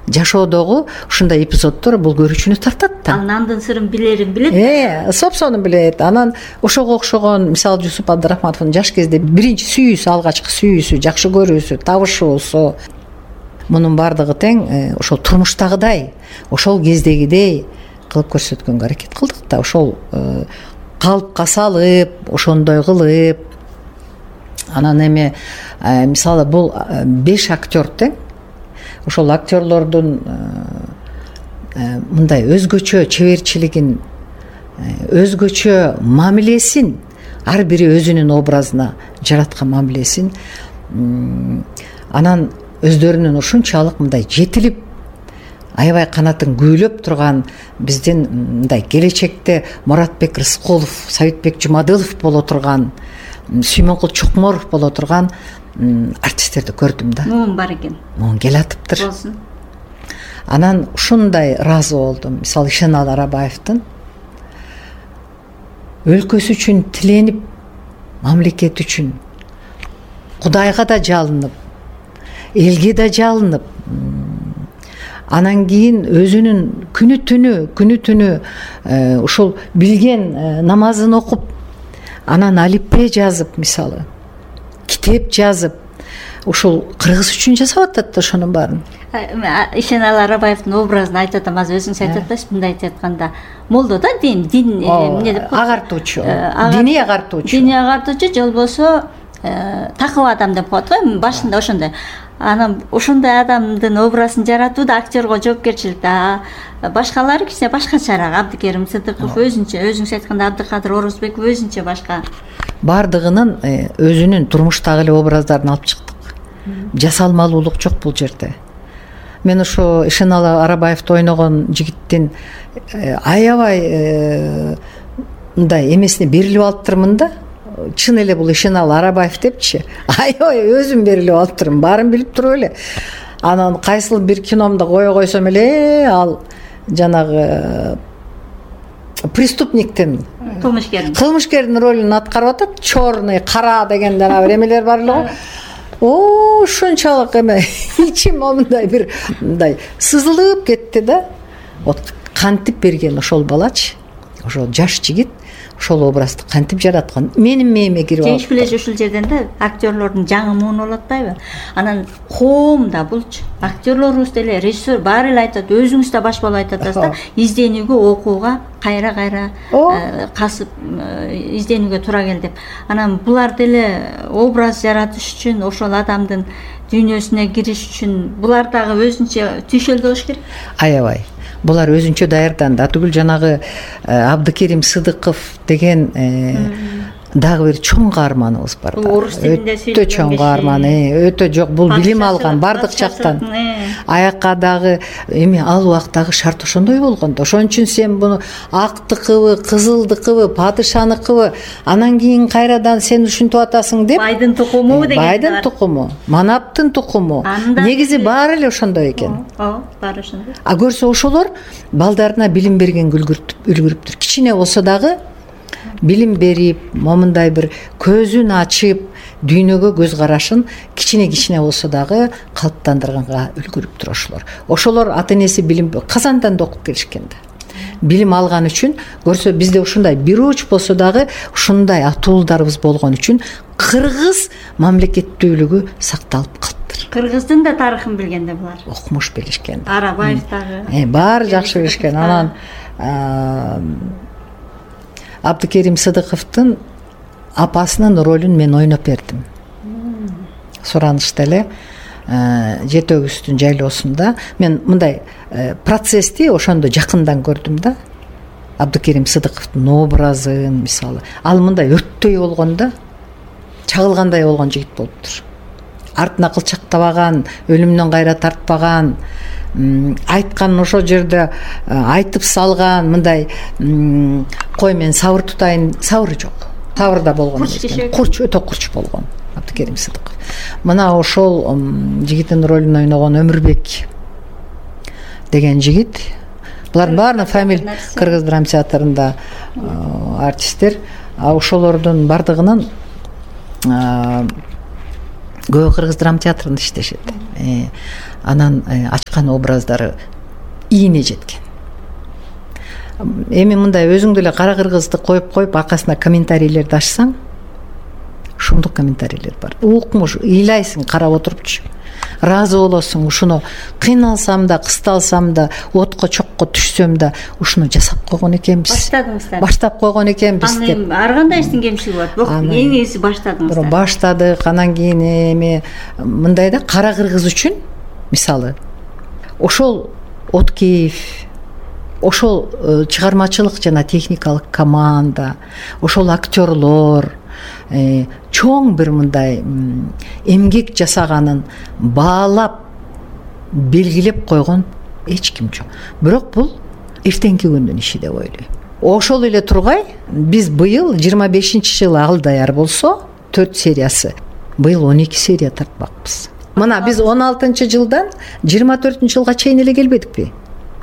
жашоодогу ушундай эпизоддор бул көрүүчүнү тартат да. Анын андан сырын билерин билет. Сопсону билет. Анан ошого окшогон мисалы Жусуп Абдрахматовдун жаш кезде биринчи сүйүүсү, алгачкы сүйүүсү, жакшы көрүүсү, табышуусу мунун баардыгы тең ошол турмуштагыдай, ошол кездегидей кылып көрсөткөнгө аракет кылдык да. Ошол калыпка салып, ошондой кылып. Анан эми мисалы бул 5 актер тең. Ошол актерлордун мындай өзгөчө чеберчилигин, өзгөчө мамилесин, ар бири өзүнүн образына жараткан мамилесин анан өздөрүнүн ушунчалык мындай жетилип, аябай канатын күүлөп турган биздин мындай келечекте Муратбек Рыскулов, Сабитбек Жумадылов боло турган, Сүймөнкул Чокморов боло турган артисттерди көрдүм да. Муун бар экен. Муун келатыптыр. Болсун. Анан ушундай ыраазы болдум. Мисалы Ишеналы Арабаевдин өлкөсү үчүн тиленип, мамлекет үчүн Кудайга да жалынып, элге да жалынып, анан кийин өзүнүн күнү түнү ушул билген намазын окуп, анан алипбе жазып, мисалы китеп жазып, ушул кыргыз үчүн жасап атат да ошонун баарын. Ишеналы Арабаевдин образын айтып атам, азыр өзүңүз айтып атасыз, мындай айтып атканда, молдо да дин эмне деп коет? Агартуучу, диний агартуучу. Диний агартуучу же болбосо такыба адам деп коет го, башында ошондой. Анан ошондой адамдын образын жаратуу да актерго жоопкерчилик да. Башкалары кичине башкачараак. Абдыкерим Сыдыков өзүнчө, өзүңүз айтканда Абдыкадыр Орозбеков өзүнчө башка. Бардыгынын өзүнүн турмуштагы эле образдарын алып чыктык. Жасалмалуулук жок бул жерде. Мен ошо Ишеналы Арабаевди ойногон жигиттин аябай мындай эмесине берилип алыптырмын да. Чын эле бул Ишеналы Арабаев депчи. Аябай өзүм берилип алыптырмын, баарын билип туруп эле. Анан кайсыл бир киномду кое койсом эле ал жанагы преступниктин, кылмышкердин ролун аткарып атат. Черный, кара деген жана бир эмелер бар эле го. Ушунчалык эме ичим мындай бир мындай сызылып кетти да. Вот кантип берген ошол балачы, ошол жаш жигит ошол образды кантип жараткан, менин мээме кирип алып. Жеңиш ушул жерден да актерлордун жаңы муун болуп атпайбы? Анан коом да булчу, актерлорубуз деле, режиссер баары эле айтат, өзүңүз да баш болуп айтып атасыз да, изденүүгө, окууга кайра касып изденүүгө туура кел деп. Анан булар деле образ жаратыш үчүн, ошол адамдын дүйнөсүнө кириш үчүн булар дагы өзүнчө түйшөлдү болуш керек. Аябай. Булар өзүнчө даярданды. Атүгүл жанагы Абдыкерим Сыдыков деген дагы бир чоң каарманыбыз бар. Орус тилинде сөйлөгөн. Өтө чоң каарман, өтө жок, бул билим алган бардык жактан. Аякка дагы эми ал убактагы шарт ошондой болгон да. Ошон үчүн сен буну актыкыбы, кызылдыкыбы, падышаныкыбы, анан кийин кайрадан сен ушинтип атасың деп. Байдын тукуму деген. Байдын тукуму, манаптын тукуму. Негизи баары эле ошондой экен. Баары ошондой. А көрсө ошолор балдарына билим бергенге үлгүрүптүр. Кичине болсо дагы билим берип, момундай бир көзүн ачып, дүйнөгө көз карашын кичине болсо дагы калыптандырганга үлгүрүптүр ошолор. Ошолор ата-энеси билим Казандан да окуп келишкен да. Билим алган үчүн көрсө бизде ушундай бир уч болсо дагы ушундай атуулдарыбыз болгон үчүн кыргыз мамлекеттүүлүгү сакталып калыптыр. Кыргыздын да тарыхын билгенде булар. Окумуш билишкен. Арабаев дагы. Баары жакшы билишкен. Анан Абдыкерим Сыдыковдун апасынын ролун мен ойноп бердим. Суранышта эле Жети өгүздүн жайлоосунда мен мындай процессти ошондо жакындан көрдүм да. Абдыкерим Сыдыковдун образын, мисалы, ал мындай өрттөй болгон да, чагылгандай болгон жигит болуптур. Артына кылчактабаган, өлүмдөн кайра тартпаган, айтканын ошол жерде айтып салган, мындай кой мен сабыр тутайын, сабыры жок. Сабырда болгон экен. Курч, өтө курч болгон Абдыкерим Сыдыков. Мына ошол жигиттин ролун ойногон Өмүрбек деген жигит. Булардын баарынын фамилия Кыргыз драма театрында артисттер. Ошолордун бардыгынын көбү Кыргыз драма театрында иштешет. анан ачкан образдары ийине жеткен. Эми мындай өзүң деле кара кыргызды коюп аркасына комментарийлерди ачсаң, шумдук комментарийлер бар. Укмуш, ыйлайсың карап отурупчу. Ыраазы болосуң, ушуну кыйналсам да, кысталсам да, отко чокко түшсөм да, ушуну жасап койгон экенбиз. Баштап койгон экенбиз деп. Ар кандай иштин кемчилиги болот. Эң негизи баштадыңыздар. Баштадык, анан кийин эми мындай да кара кыргыз үчүн мисалы ошол Откеев, ошол чыгармачылык жана техникалык команда, ошол актерлор чоң бир мындай эмгек жасаганын баалап белгилеп койгон эч ким жок. Бирок бул эртеңки күндүн иши деп ойлойм. Ошол эле тургай биз быйыл 25-жылы ал даяр болсо 4 сериясы, быйыл 12 серия тартпакпыз. Мына биз 16-жылдан 24-жылга чейин эле келбедикпи?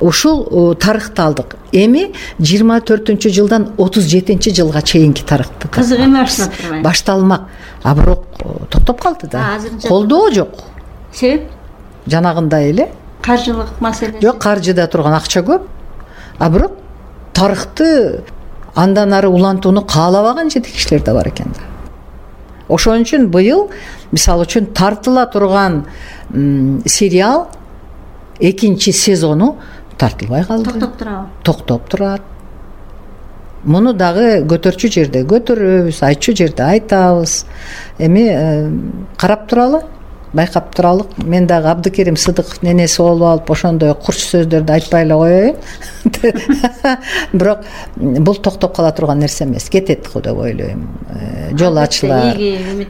Ушул тарыхты алдык. Эми 24-жылдан 37-жылга чейинки тарыхты. Кызык эме башталып турбайбы? Башталмак. А бирок токтоп калды да. Колдоо жок. Себеп? Жанагындай эле. Каржылык маселеси. Жок, каржыда турган акча көп. А бирок тарыхты андан ары улантууну каалабаган жетекчилер да бар экен да. Ошон үчүн быйыл мисалы үчүн тартыла турган сериал 2-чи сезону тартылбай калды. Токтоп турабы? Токтоп турат. Муну дагы көтөрчү жерде көтөрөбүз, айтчу жерде айтабыз. Эми карап туралы, байкап туралы. Мен дагы Абдыкерим Сыдыков ненеси болуп алып ошондой курч сөздөрдү айтпай эле коеюн. Бирок бул токтоп кала турган нерсе эмес, кетет го деп ойлойм. Жол ачылар.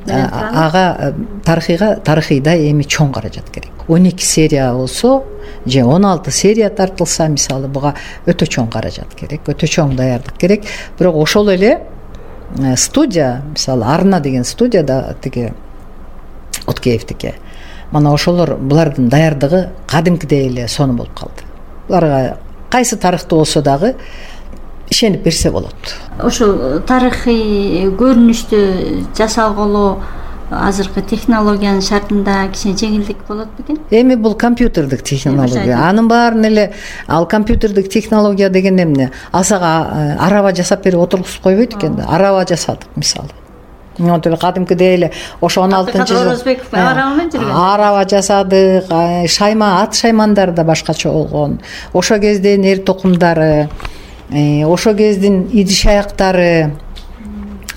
Ага тарыхыйда эми чоң каражат керек. 12 серия болсо же 16 серия тартылса, мисалы буга өтө чоң каражат керек, өтө чоң даярдык керек. Бирок ошол эле студия, мисалы Арна деген студияда тиги Откеевдики. Мана ошолор булардын даярдыгы кадимкидей эле сонун болуп калды. Буларга кайсы тарыхты болсо дагы ишенип берсе болот. Ошол тарыхый көрүнүштү жасалгылоо азыркы технологиянын шартында кичине жеңилдик болот бекен? Эми бул компьютердик технология. Анын баарын эле ал компьютердик технология деген эмне? Асага араба жасап берип отургузуп койбойт экен да. Араба жасадык мисалы. Монтеле кадимкидей эле ошо 16-жылы араба жасадык, ат шаймандар да башкача болгон. Ошо кездин эр токумдары, ошо кездин идиш аяктары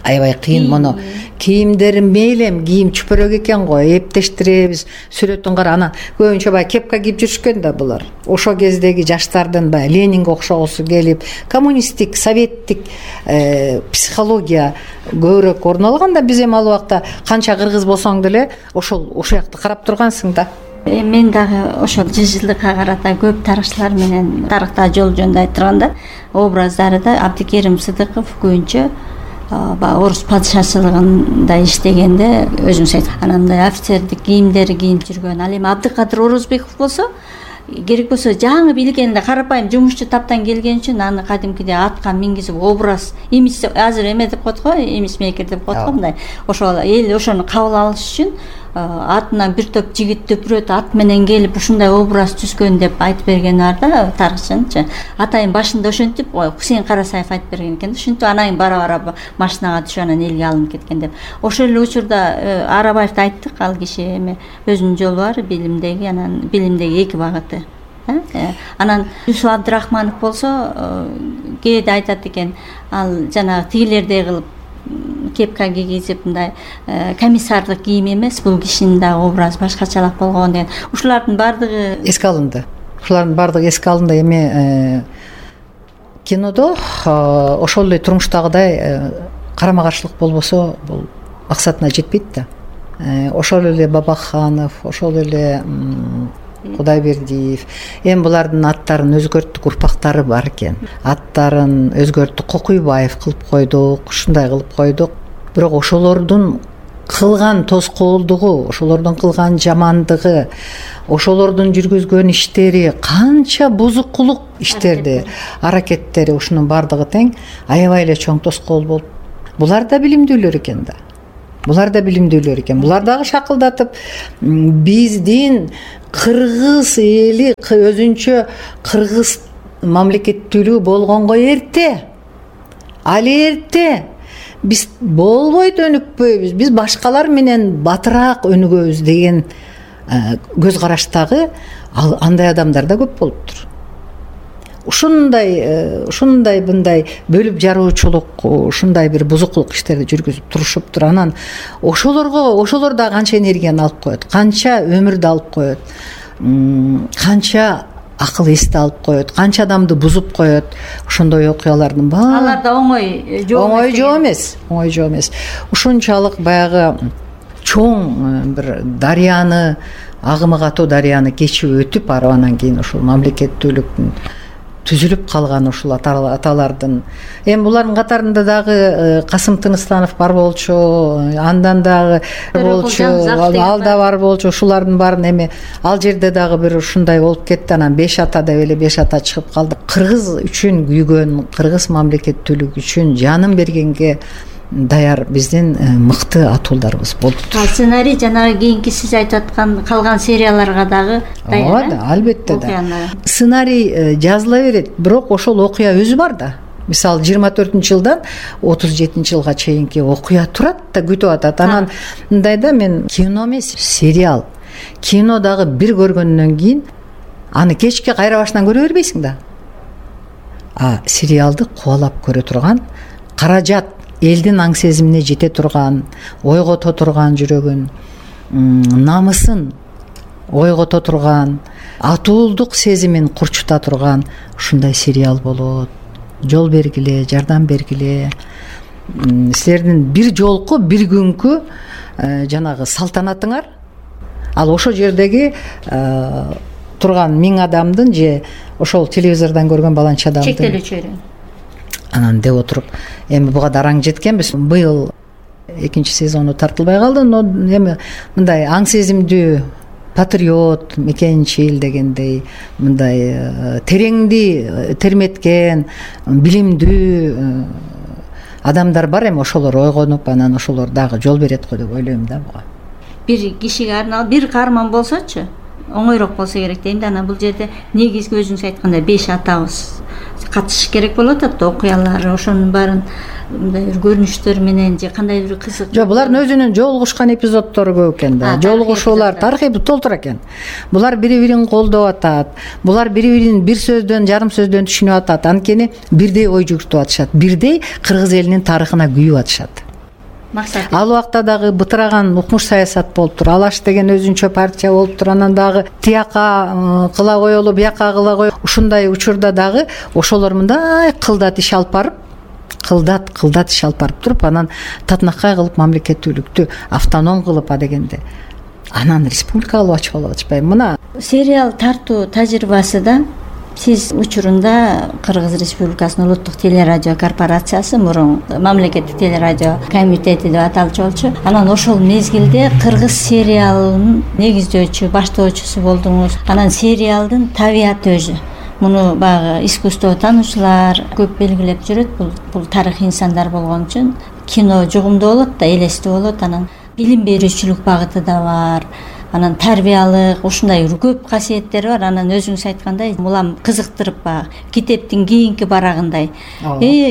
аябай кыйын. Мону кийимдери мейлем кийим чүпөрөк экен го, эптештиребиз, сүрөтүн кара. Анан көбүнчө баягы кепка кийип жүрүшкөн да булар. Ошо кездеги жаштардын баягы Ленинге окшогусу келип, коммунисттик, советтик психология көбүрөөк орун алган да. Биз эми ал убакта канча кыргыз болсоң деле ошол жакты карап тургансың да. Мен дагы ошол 100 жылдыкка карата көп тарыхчылар менен тарыхта жол жөнүндө айтып турганда, образдары да Абдыкерим Сыдыков көбүнчө орус падышачылыгында иштегенде өзүңүз айт. Анан мындай офицердик кийимдери кийип жүргөн. Ал эми Абдыкадыр Орозбеков болсо, керек болсо жаңы билгенде карапайым жумушчу таптан келген үчүн аны кадимкидей атка мингизип образ, имидж азыр эме деп коет го, имиджмейкер деп коет го мындай. Ошол эл ошону кабыл алыш үчүн атынан бир топ жигит төпүрөт ат менен келип ушундай образ түзгөн деп айтып берген бар да тарыхчынчы. Атайын башында ошентип Хусейин Карасаев айтып берген экен да. Ушинтип анан бара-бара машинага түшүп анан элге алынып кеткен деп. Ошол эле учурда Арабаевди айттык, ал киши эми өзүнүн жолу бар, билимдеги, анан билимдеги эки багыты. Анан Юсуп Абдырахманов болсо кээде айтат экен, ал жанагы тигилердей кылып кепка кийгизип мындай комиссардык кийим эмес, бул кишинин да образы башкачалак болгон деген. Ушулардын баардыгы эске алынды. Ушулардын баардыгы эске алынды. Эми кинодо ошол эле турмуштагыдай карама каршылык болбосо бул максатына жетпейт да. Ошол эле Бабаханов, ошол эле Кудайбердиев. Эми булардын аттарын өзгөрттүк, урпактары бар экен. Аттарын өзгөрттүк, Кокуйбаев кылып койдук, ушундай кылып койдук. Бирок ошолордун кылган тоскоолдугу, ошолордун кылган жамандыгы, ошолордун жүргүзгөн иштери, канча бузукулук иштерди, аракеттери, ушунун баардыгы тең аябай эле чоң тоскоол болуп. Булар да билимдүүлөр экен да. булар да билимдүүлөр экен. Булар дагы шакылдатып биздин кыргыз эли өзүнчө кыргыз мамлекеттүүлүгү болгонго эрте, ал эрте биз болбойт, өнүкпөйбүз, биз башкалар менен батыраак өнүгөбүз деген көз караштагы андай адамдар да көп болуптур. Ушундай мындай бөлүп жаруучулук, ушундай бир бузукулук иштерди жүргүзүп турушуптур. Анан ошолор да канча энергияны алып коет, канча өмүрдү алып коет, канча акыл эсти алып коет, канча адамды бузуп коет. Ошондой окуялардын баары алар да оңой жоо эмес. Ушунчалык баягы чоң бир дарыяны, агымы катуу дарыяны кечип өтүп, анан кийин ушул мамлекеттүүлүктүн түзүлүп калган ушул аталардын. Эми булардын катарында дагы Касым Тыныстанов бар болчу, андан дагы болчу, ал да бар болчу. Ушулардын баарын эми ал жерде дагы бир ушундай болуп кетти. Анан 5 ата деп эле 5 ата чыгып калды. Кыргыз үчүн күйгөн, кыргыз мамлекеттүүлүгү үчүн жанын бергенге даяр биздин мыкты атуулдарыбыз болуптур. Сценарий жанагы кийинки сиз айтып аткан калган серияларга дагы даяр. Албетте да. Сценарий жазыла берет, бирок ошол окуя өзү бар да. Мисалы 24-жылдан 37-жылга чейинки окуя турат да, күтүп атат. Анан мындай да, мен кино эмес, сериал. Кино дагы бир көргөндөн кийин аны кечке кайра башынан көрө бербейсиң да. Сериалды кубалап көрө турган, каражат элдин аң сезимине жете турган, ойгото турган жүрөгүн, намысын ойгото турган, атуулдук сезимин курчута турган ушундай сериал болот. Жол бергиле, жардам бергиле. Силердин бир жолку, бир күнкү жанагы салтанатыңар ал ошол жердеги турган 1000 адамдын же ошол телевизордон көргөн баланча адамдын чектелүүчү анан деп отуруп, эми буга дараң жеткенбиз. Быйыл 2-сезону тартылбай калды, но эми мындай аң сезимдүү патриот, мекенчил дегендей, мындай тереңди терметкен, билимдүү адамдар бар. Эми ошолор ойгонуп, анан ошолор дагы жол берет го деп ойлойм да буга. Бир кишиге арналып бир каарман болсочу оңойрок болсо керек дейм да. Анан бул жерде негизги өзүңүз айткандай 5 атабыз катышыш керек болот да, окуялар, ошонун баарын мындай бир көрүнүштөр менен же кандай бир кызык. Жок, булардын өзүнүн жолугушкан эпизоддору көп экен да. Жолугушуулар, тарыхый толтур экен. Булар бири-бирин колдоп атат. Булар бири-бирин бир сөздөн, жарым сөздөн түшүнүп атат. Анткени бирдей ой жүгүртүп атышат. Бирдей кыргыз элинин тарыхына күйүп атышат. Максат. Ал убакта дагы бытыраган укмуш саясат болуптур. Алаш деген өзүнчө партия болуптур. Анан дагы тияка кыла коелу, бияка кыла коелу. Ушундай учурда дагы ошолор мындай кылдат иш алып барып, кылдат иш алып барып туруп, анан татынакай кылып мамлекеттүүлүктү автоном кылып дегенде анан республика кылып ачып атышпайбы. Мына сериал тартуу тажрыйбасы да сиз учурунда Кыргыз Республикасынын улуттук телерадио корпорациясы, мурун мамлекеттик телерадио комитети деп аталчу болчу. Анан ошол мезгилде кыргыз сериалынын негиздөөчү, баштоочусу болдуңуз. Анан сериалдын табияты өзү. Муну баягы искусство таануучулар көп белгилеп жүрөт. Бул тарыхый инсандар болгон үчүн кино жугумдуу болот да, элестүү болот. Анан билим берүүчүлүк багыты да бар. Анан тарбиялык, ушундай көп касиеттери бар. Анан өзүңүз айткандай, улам кызыктырып баягы китептин кийинки барагындай.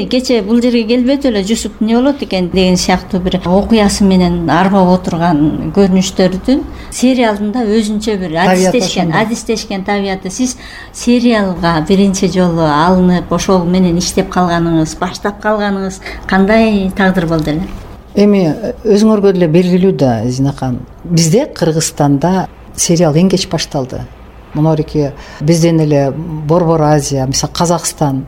Кече бул жерге келбедип эле Жусуп эмне болот экен деген сыяктуу бир окуясы менен арбап отурган көрүнүштөрдүн сериалдын да өзүнчө бир адистешкен табияты. Сиз сериалга биринчи жолу алынып, ошол менен иштеп калганыңыз, баштап калганыңыз кандай тагдыр болду эле? Эми өзүңөргө деле белгилүү да, Зинакан. Бизде Кыргызстанда сериал эң кеч башталды. Монорики бизден эле Борбор Азия, мисалы Казакстан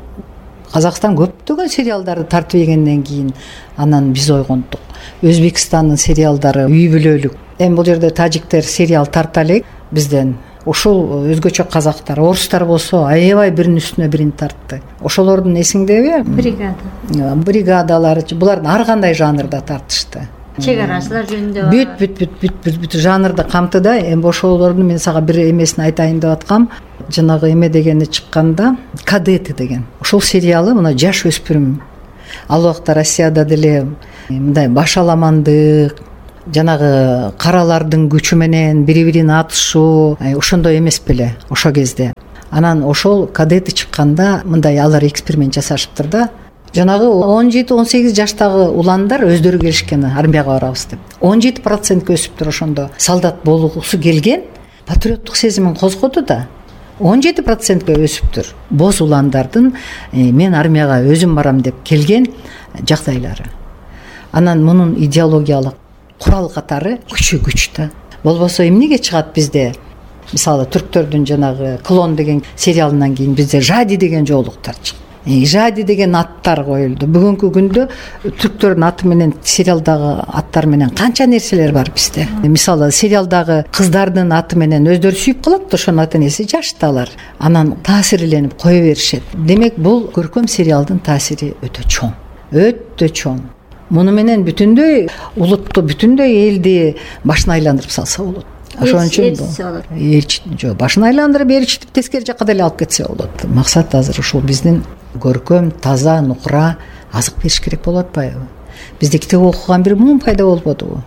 көптөгөн сериалдарды тартып ийгенден кийин анан биз ойгондук. Өзбекстандын сериалдары үй бүлөлүк. Эми бул жерде тажиктер сериал тарта элек бизден. Ушул өзгөчө казактар, орустар болсо аябай биринин үстүнө бирин тартты. Ошолордун эсиңдеби? Бригадалар, булардын ар кандай жанрда тартышты. Чек арачылар жөнүндө бүт жанрды камтыды. Эми ошолордун мен сага бир эмесин айтайын деп аткам. Жанагы эме дегени чыкканда, Кадеты деген. Ошол сериалы мына жаш өспүрүм. Ал убакта Россияда деле мындай башаламандык, жанагы каралардын күчү менен бири бирин атышуу ошондой эмес беле ошол кезде. Анан ошол кадеты чыкканда мындай алар эксперимент жасашыптыр да. Жанагы 17-18 жаштагы уландар өздөрү келишкен армияга барабыз деп. 17% өсүптүр ошондо. Солдат болгусу келген, патриоттук сезимин козгоду да. 17% өсүптүр. Боз уландардын мен армияга өзүм барам деп келген жагдайлары. Анан мунун идеологиялык курал катары күч да. Болбосо эмнеге чыгат бизде? Мисалы түрктөрдүн жанагы Клон деген сериалынан кийин бизде Жади деген жоолуктар чыкты. Жади деген аттар коюлду. Бүгүнкү күндө түрктөрдүн аты менен сериалдагы аттар менен канча нерселер бар бизде. Мисалы сериалдагы кыздардын аты менен өздөрү сүйүп калат, ошонун аты энеси жашталар. Анан таасирленип кое беришет. Демек бул көркөм сериалдын таасири өтө чоң. Өтө чоң. Муну менен бүтүндөй улутту, бүтүндөй элди башына айландырып салса болот. Ошон үчүн башын айландырып ээрчитип тескери жакка деле алып кетсе болот. Максат азыр ушул биздин көркөм, таза, нукура азык бериш керек болуп атпайбы? Бизде китеп окуган бир муун пайда болбодубу?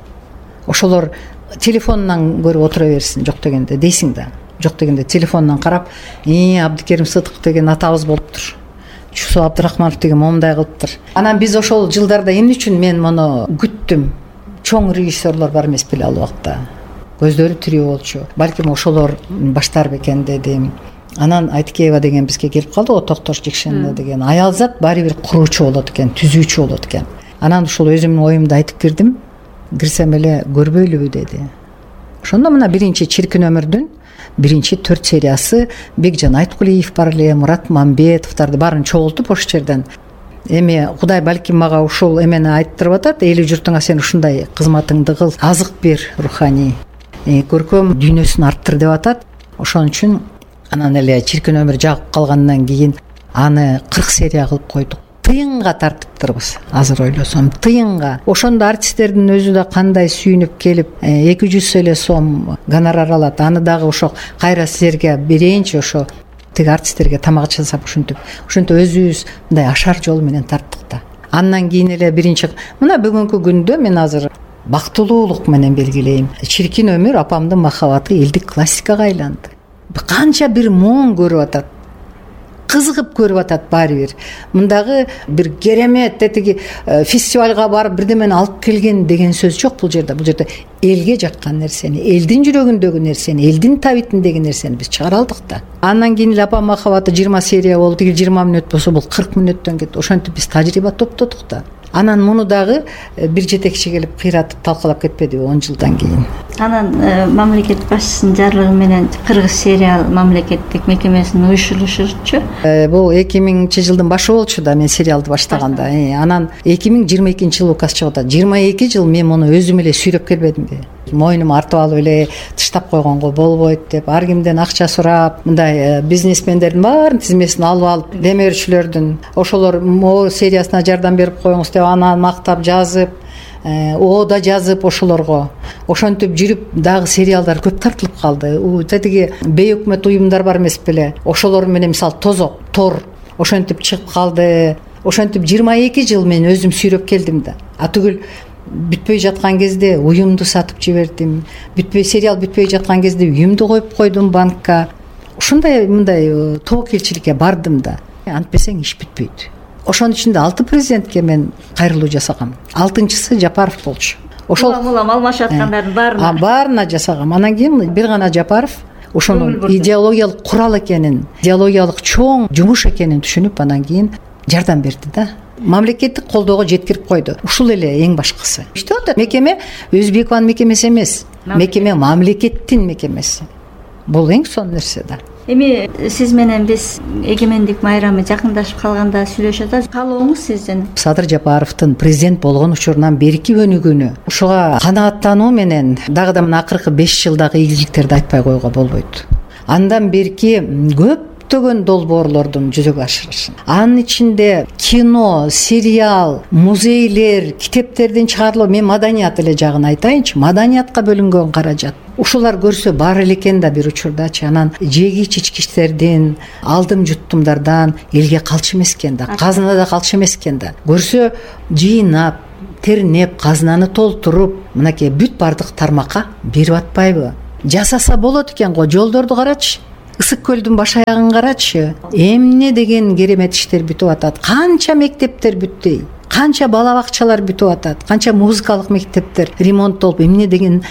Ошолор телефонунан көрүп отура берсин, жок дегенде дейсиң да. Жок дегенде телефонунан карап, Абдыкерим Сыдыков деген атабыз болуптур. Чусу Абдырахманов деген момундай кылыптыр. Анан биз ошол жылдарда эмне үчүн мен муну күттүм? Чоң режиссерлор бар эмес беле ал убакта. Көздөрү тирүү болчу. Балким ошолор баштар бекен дедим. Анан Айтыкеева деген бизге келип калды, Токтош Жекшенова деген. Аялзат баары бир куруучу болот экен, түзүүчү болот экен. Анан ушул өзүмдүн оюмду айтып кирдим. Кирсем эле көрбөйлүбү деди. Ошондо мына биринчи Чиркин өмүрдүн биринчи 4 сериясы Бекжан Айткулиев бар эле, Мурат Мамбетовдарды баарын чогултуп ошол жерден. Эми Кудай балким мага ушул эмени айттырып атат, эли журтуңа сен ушундай кызматыңды кыл, азык бер руханий, көркөм дүйнөсүн арттыр деп атат. Ошон үчүн анан эле Чиркин өмүр жагып калгандан кийин аны 40 серия кылып койдук. Тыйынга тартыптырбыз. Азыр ойлосом, тыйынга. Ошондо артисттердин өзү да кандай сүйүнүп келип, 200 эле сом гонорар алат. Аны дагы ошо кайра силерге берейинчи, ошо тиги артисттерге тамак жасап ушинтип өзүбүз мындай ашар жол менен тарттык да. Андан кийин эле биринчи мына бүгүнкү күндө мен азыр бактылуулук менен белгилейм. Чиркин өмүр апамдын махабаты элдик классикага айланды. Канча бир моң көрүп атат. Кызыгып көрүп атат баары бир. Мындагы бир керемет тетиги фестивалга барып бирдемени алып келген деген сөз жок бул жерде. Бул жерде элге жаккан нерсени, элдин жүрөгүндөгү нерсени, элдин табитиндеги нерсени биз чыгара алдык да. Андан кийин эле апам махабаты 20 серия болду. Тиги 20 мүнөт болсо бул 40 мүнөттөн кетти. Ошентип биз тажрыйба топтодук да. Анан муну дагы бир жетекчи келип кыйратып талкалап кетпедиби 10 жылдан кийин. Анан мамлекет башчысынын жарлыгы менен Кыргыз сериал мамлекеттик мекемесинин уюшулушучу. Бул 2000-жылдын башы болчу да мен сериалды баштаганда. Анан 2022-жылы указ чыгып атат. 22 жыл мен муну өзүм эле сүйрөп келбедимби? Мойнума артып алып эле тыштап койгонго болбойт деп, ар кимден акча сурап, мындай бизнесмендердин баарын тизмесин алып демөөрчүлөрдүн ошолор могу сериясына жардам берип коюңуз деп анан мактап жазып, да жазып ошолорго. Ошентип жүрүп дагы сериалдар көп тартылып калды. Тетиги бейөкмөт уюмдар бар эмес беле? Ошолор менен мисалы Тозок, Тор ошентип чыгып калды. Ошентип 22 жыл мен өзүм сүйрөп келдим да. Атүгүл бүтпөй жаткан кезде уюмду сатып жибердим. Сериал бүтпөй жаткан кезде уюмду коюп койдум банкка. Ушундай мындай тобокелчиликке бардым да. Антпесең иш бүтпөйт. Ошонун ичинде 6 президентке мен кайрылуу жасагам. 6-чысы Жапаров болчу. Ошол алмашып аткандардын баарына жасагам. Анан кийин бир гана Жапаров ошонун идеологиялык курал экенин, идеологиялык чоң жумуш экенин түшүнүп, анан кийин жардам берди да. Мамлекеттик колдоого жеткирип койду. Ушул эле эң башкысы. Иштеп атат. Мекеме Өзбекованын мекемеси эмес. Мекеме мамлекеттин мекемеси. Бул эң сонун нерсе да. Эми сиз менен биз эгемендик майрамы жакындашып калганда сүйлөшүп атабыз. Каалооңуз сиздин? Садыр Жапаровдун президент болгон учурунан берки өнүгүүнү ушуга канааттануу менен дагы да мына акыркы 5 жылдагы ийгиликтерди айтпай коюуга болбойт. Андан берки көптөгөн долбоорлордун жүзөгө ашырышын. Анын ичинде кино, сериал, музейлер, китептердин чыгарылуу, мен маданият эле жагын айтайынчы. Маданиятка бөлүнгөн каражат. Ушулар көрсө бар эле экен да бир учурдачы. Анан жегич ичкичтердин, алдым жуттумдардан элге калчу эмес экен да, казынада калчу эмес экен да. Көрсө жыйнап тернеп, казынаны толтуруп, мынакей бүт бардык тармакка берип атпайбы? Жасаса болот экен го, жолдорду карачы. Ысык көлдүн баш аягын карачы. Эмне деген керемет иштер бүтүп атат. Канча мектептер бүтпөй, канча бала бакчалар бүтүп атат, канча музыкалык мектептер ремонттолуп, эмне деген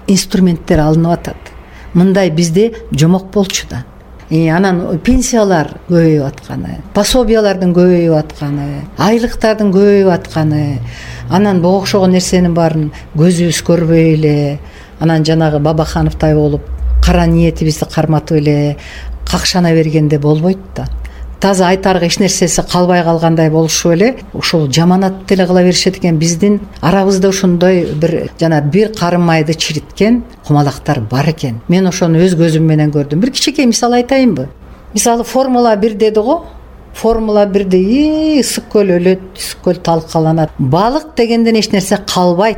инструменттер алынып атат. Мындай бизде жомок болчу да. Анан пенсиялар көбөйүп атканы, пособиялардын көбөйүп атканы, айлыктардын көбөйүп атканы, анан буга окшогон нерсенин баарын көзүбүз көрбөй эле, анан жанагы Бабахановдай болуп кара ниетибизди карматып эле какшана бергенде болбойт да. Таза айтарга эч нерсеси калбай калгандай болушуп эле ушул жаманат деле кыла беришет экен. Биздин арабызда ошондой бир карын майды чириткен кумалактар бар экен. Мен ошону өз көзүм менен көрдүм. Бир кичинекей мисал айтайынбы? Мисалы Формула 1 деди го. Формула 1де ысык көл өлөт, ысык көл талкаланат. Балык дегенден эч нерсе калбайт.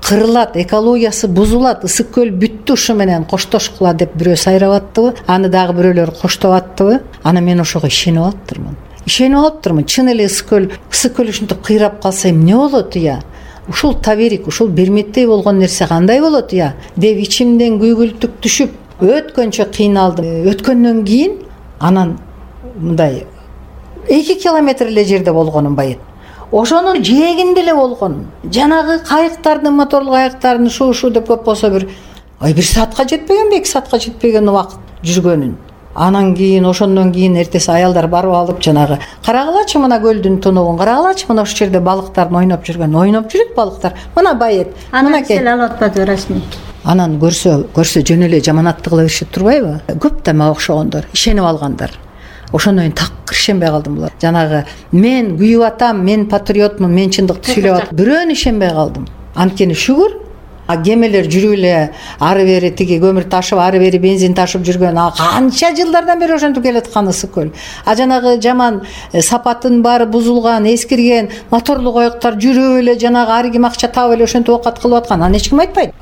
Кырылат, экологиясы бузулат, ысык көл бүттү, ушу менен коштошкула деп бирөө сайрап аттыбы, аны дагы бирөөлөр коштоп аттыбы. Ана мен ошого ишенип алыптырмын. Чын эле ысык көл ушинтип кыйрап калса эмне болот ыя? Ушул таберик, ушул берметтей болгон нерсе кандай болот ыя? Деп ичимден күйгүлтүк түшүп, өткөнчө кыйналдым. Өткөндөн кийин анан мындай 2 километр эле жерде болгонум байыт. Ошонун жээгинде эле болгон. Жанагы кайыктардын, моторлуу кайыктардын шу деп көп болсо бир саатка жетпегенби, 2 саатка жетпеген убакыт жүргөнүн. Анан кийин ошондон кийин эртеси аялдар барып алып жанагы карагылачы мына көлдүн тунугун, карагылачы мына ушул жерде балыктардын ойноп жүрөт балыктар. Мына байет. Анан сел алып атпады расмий. Анан көрсө жөн эле жаманатты кыла беришет турбайбы? Көп да мага окшогондор, ишенип алгандар. Ошондон кийин такыр ишенбей калдым булар. Жанагы мен күйүп атам, мен патриотмун, мен чындыкты сүйлөп атам. Бирөөнү ишенбей калдым. Анткени шүгүр, кемелер жүрүп эле ары бери тиги көмүр ташып, ары бери бензин ташып жүргөн, канча жылдардан бери ошентип келаткан ысык көл. Жанагы жаман сапатын баары бузулган, эскирген моторлуу кайыктар жүрүп эле жанагы ар ким акча таап эле ошентип оокат кылып аткан. Аны эч ким айтпайт.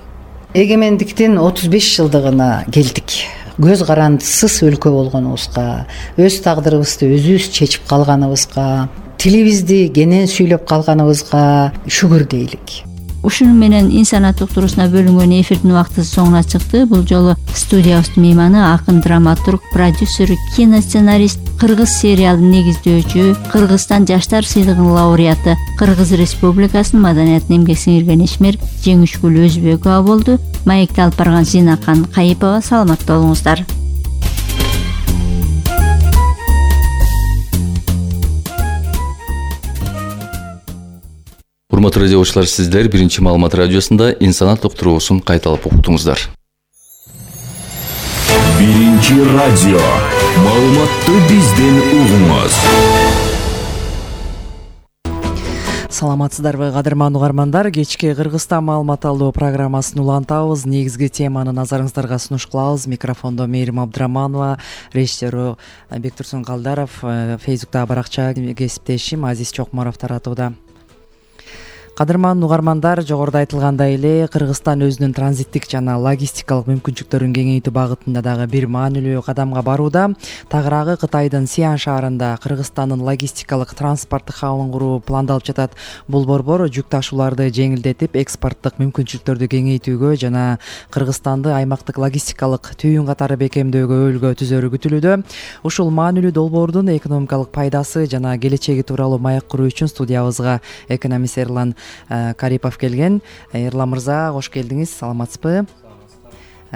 Эгемендиктин 35 жылдыгына келдик. Көз карандысыз өлкө болгонубузга, өз тагдырыбызды өзүбүз чечип калганыбызга, тилибизди кенен сүйлөп калганыбызга шүгүр дейлик. Ушуну менен инсанат уктуруусуна бөлүнгөн эфирдин убактысы соңуна чыкты. Бул жолу студиябыздын мейманы акын, драматург, продюсер, киносценарист, кыргыз сериалын негиздөөчү, Кыргызстан жаштар сыйлыгынын лауреаты, Кыргыз Республикасынын маданиятына эмгек сиңирген ишмер Жеңишгүл Өзбекова болду. Маекти алып барган Зинакан Кайыпова. Саламат болуңуздар. Урматтуу радиочулар, сиздер Биринчи Маалымат радиосунда инсанат уктуруусун кайталап уктуңуздар. Биринчи радио. Маалыматты бизден угуңуз. Саламатсыздарбы, кадырман угармандар. Кечки Кыргызстан маалымат алуу программасын улантабыз. Негизги теманы назарыңыздарга сунуш кылабыз. Микрофондо Мээрим Абдыраманова, режиссеру Бектурсун Калдаров, Фейсбукта баракча кесиптешим Азиз Чокморов таратууда. Кадырман угармандар, жогоруда айтылгандай эле Кыргызстан өзүнүн транзиттик жана логистикалык мүмкүнчүлүктөрүн кеңейтүү багытында дагы бир маанилүү кадамга барууда. Тагыраагы Кытайдын Сиан шаарында Кыргызстандын логистикалык транспорттук хабын куруу пландалып жатат. Бул борбор жүк ташууларды жеңилдетип, экспорттук мүмкүнчүлүктөрдү кеңейтүүгө жана Кыргызстанды аймактык логистикалык түйүн катары бекемдөөгө өлгө түзөрү күтүлүүдө. Ушул маанилүү долбоордун экономикалык пайдасы жана келечеги тууралуу маек куруу үчүн студиябызга экономист Эрлан Карипов келген. Эрлан мырза, кош келдиңиз. Саламатсызбы?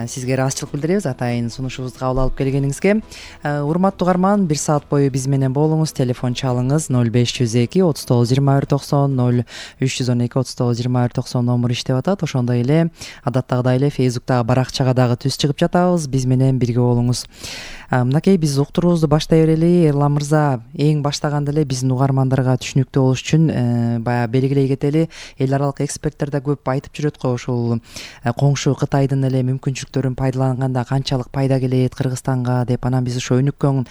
Сизге ыраазычылык билдиребиз атайын сунушубузду кабыл алып келгениңизге. Урматтуу угарман, 1 саат бою биз менен болуңуз. Телефон чалыңыз 0502 39 21 90 0312 39 21 90 номер иштеп атат. Ошондой эле адаттагыдай эле Фейсбуктагы баракчага дагы түз чыгып жатабыз. Биз менен бирге болуңуз. Мынакей биз уктуруубузду баштай берели. Эрлан мырза, эң баштаганда эле биздин угармандарга түшүнүктүү болуш үчүн баягы белгилей кетели. Эл аралык эксперттер да көп айтып жүрөт го, ушул коңшу Кытайдын эле мүмкүнчүлүктөрүн пайдаланганда канчалык пайда келет Кыргызстанга деп. Анан биз ошо өнүккөн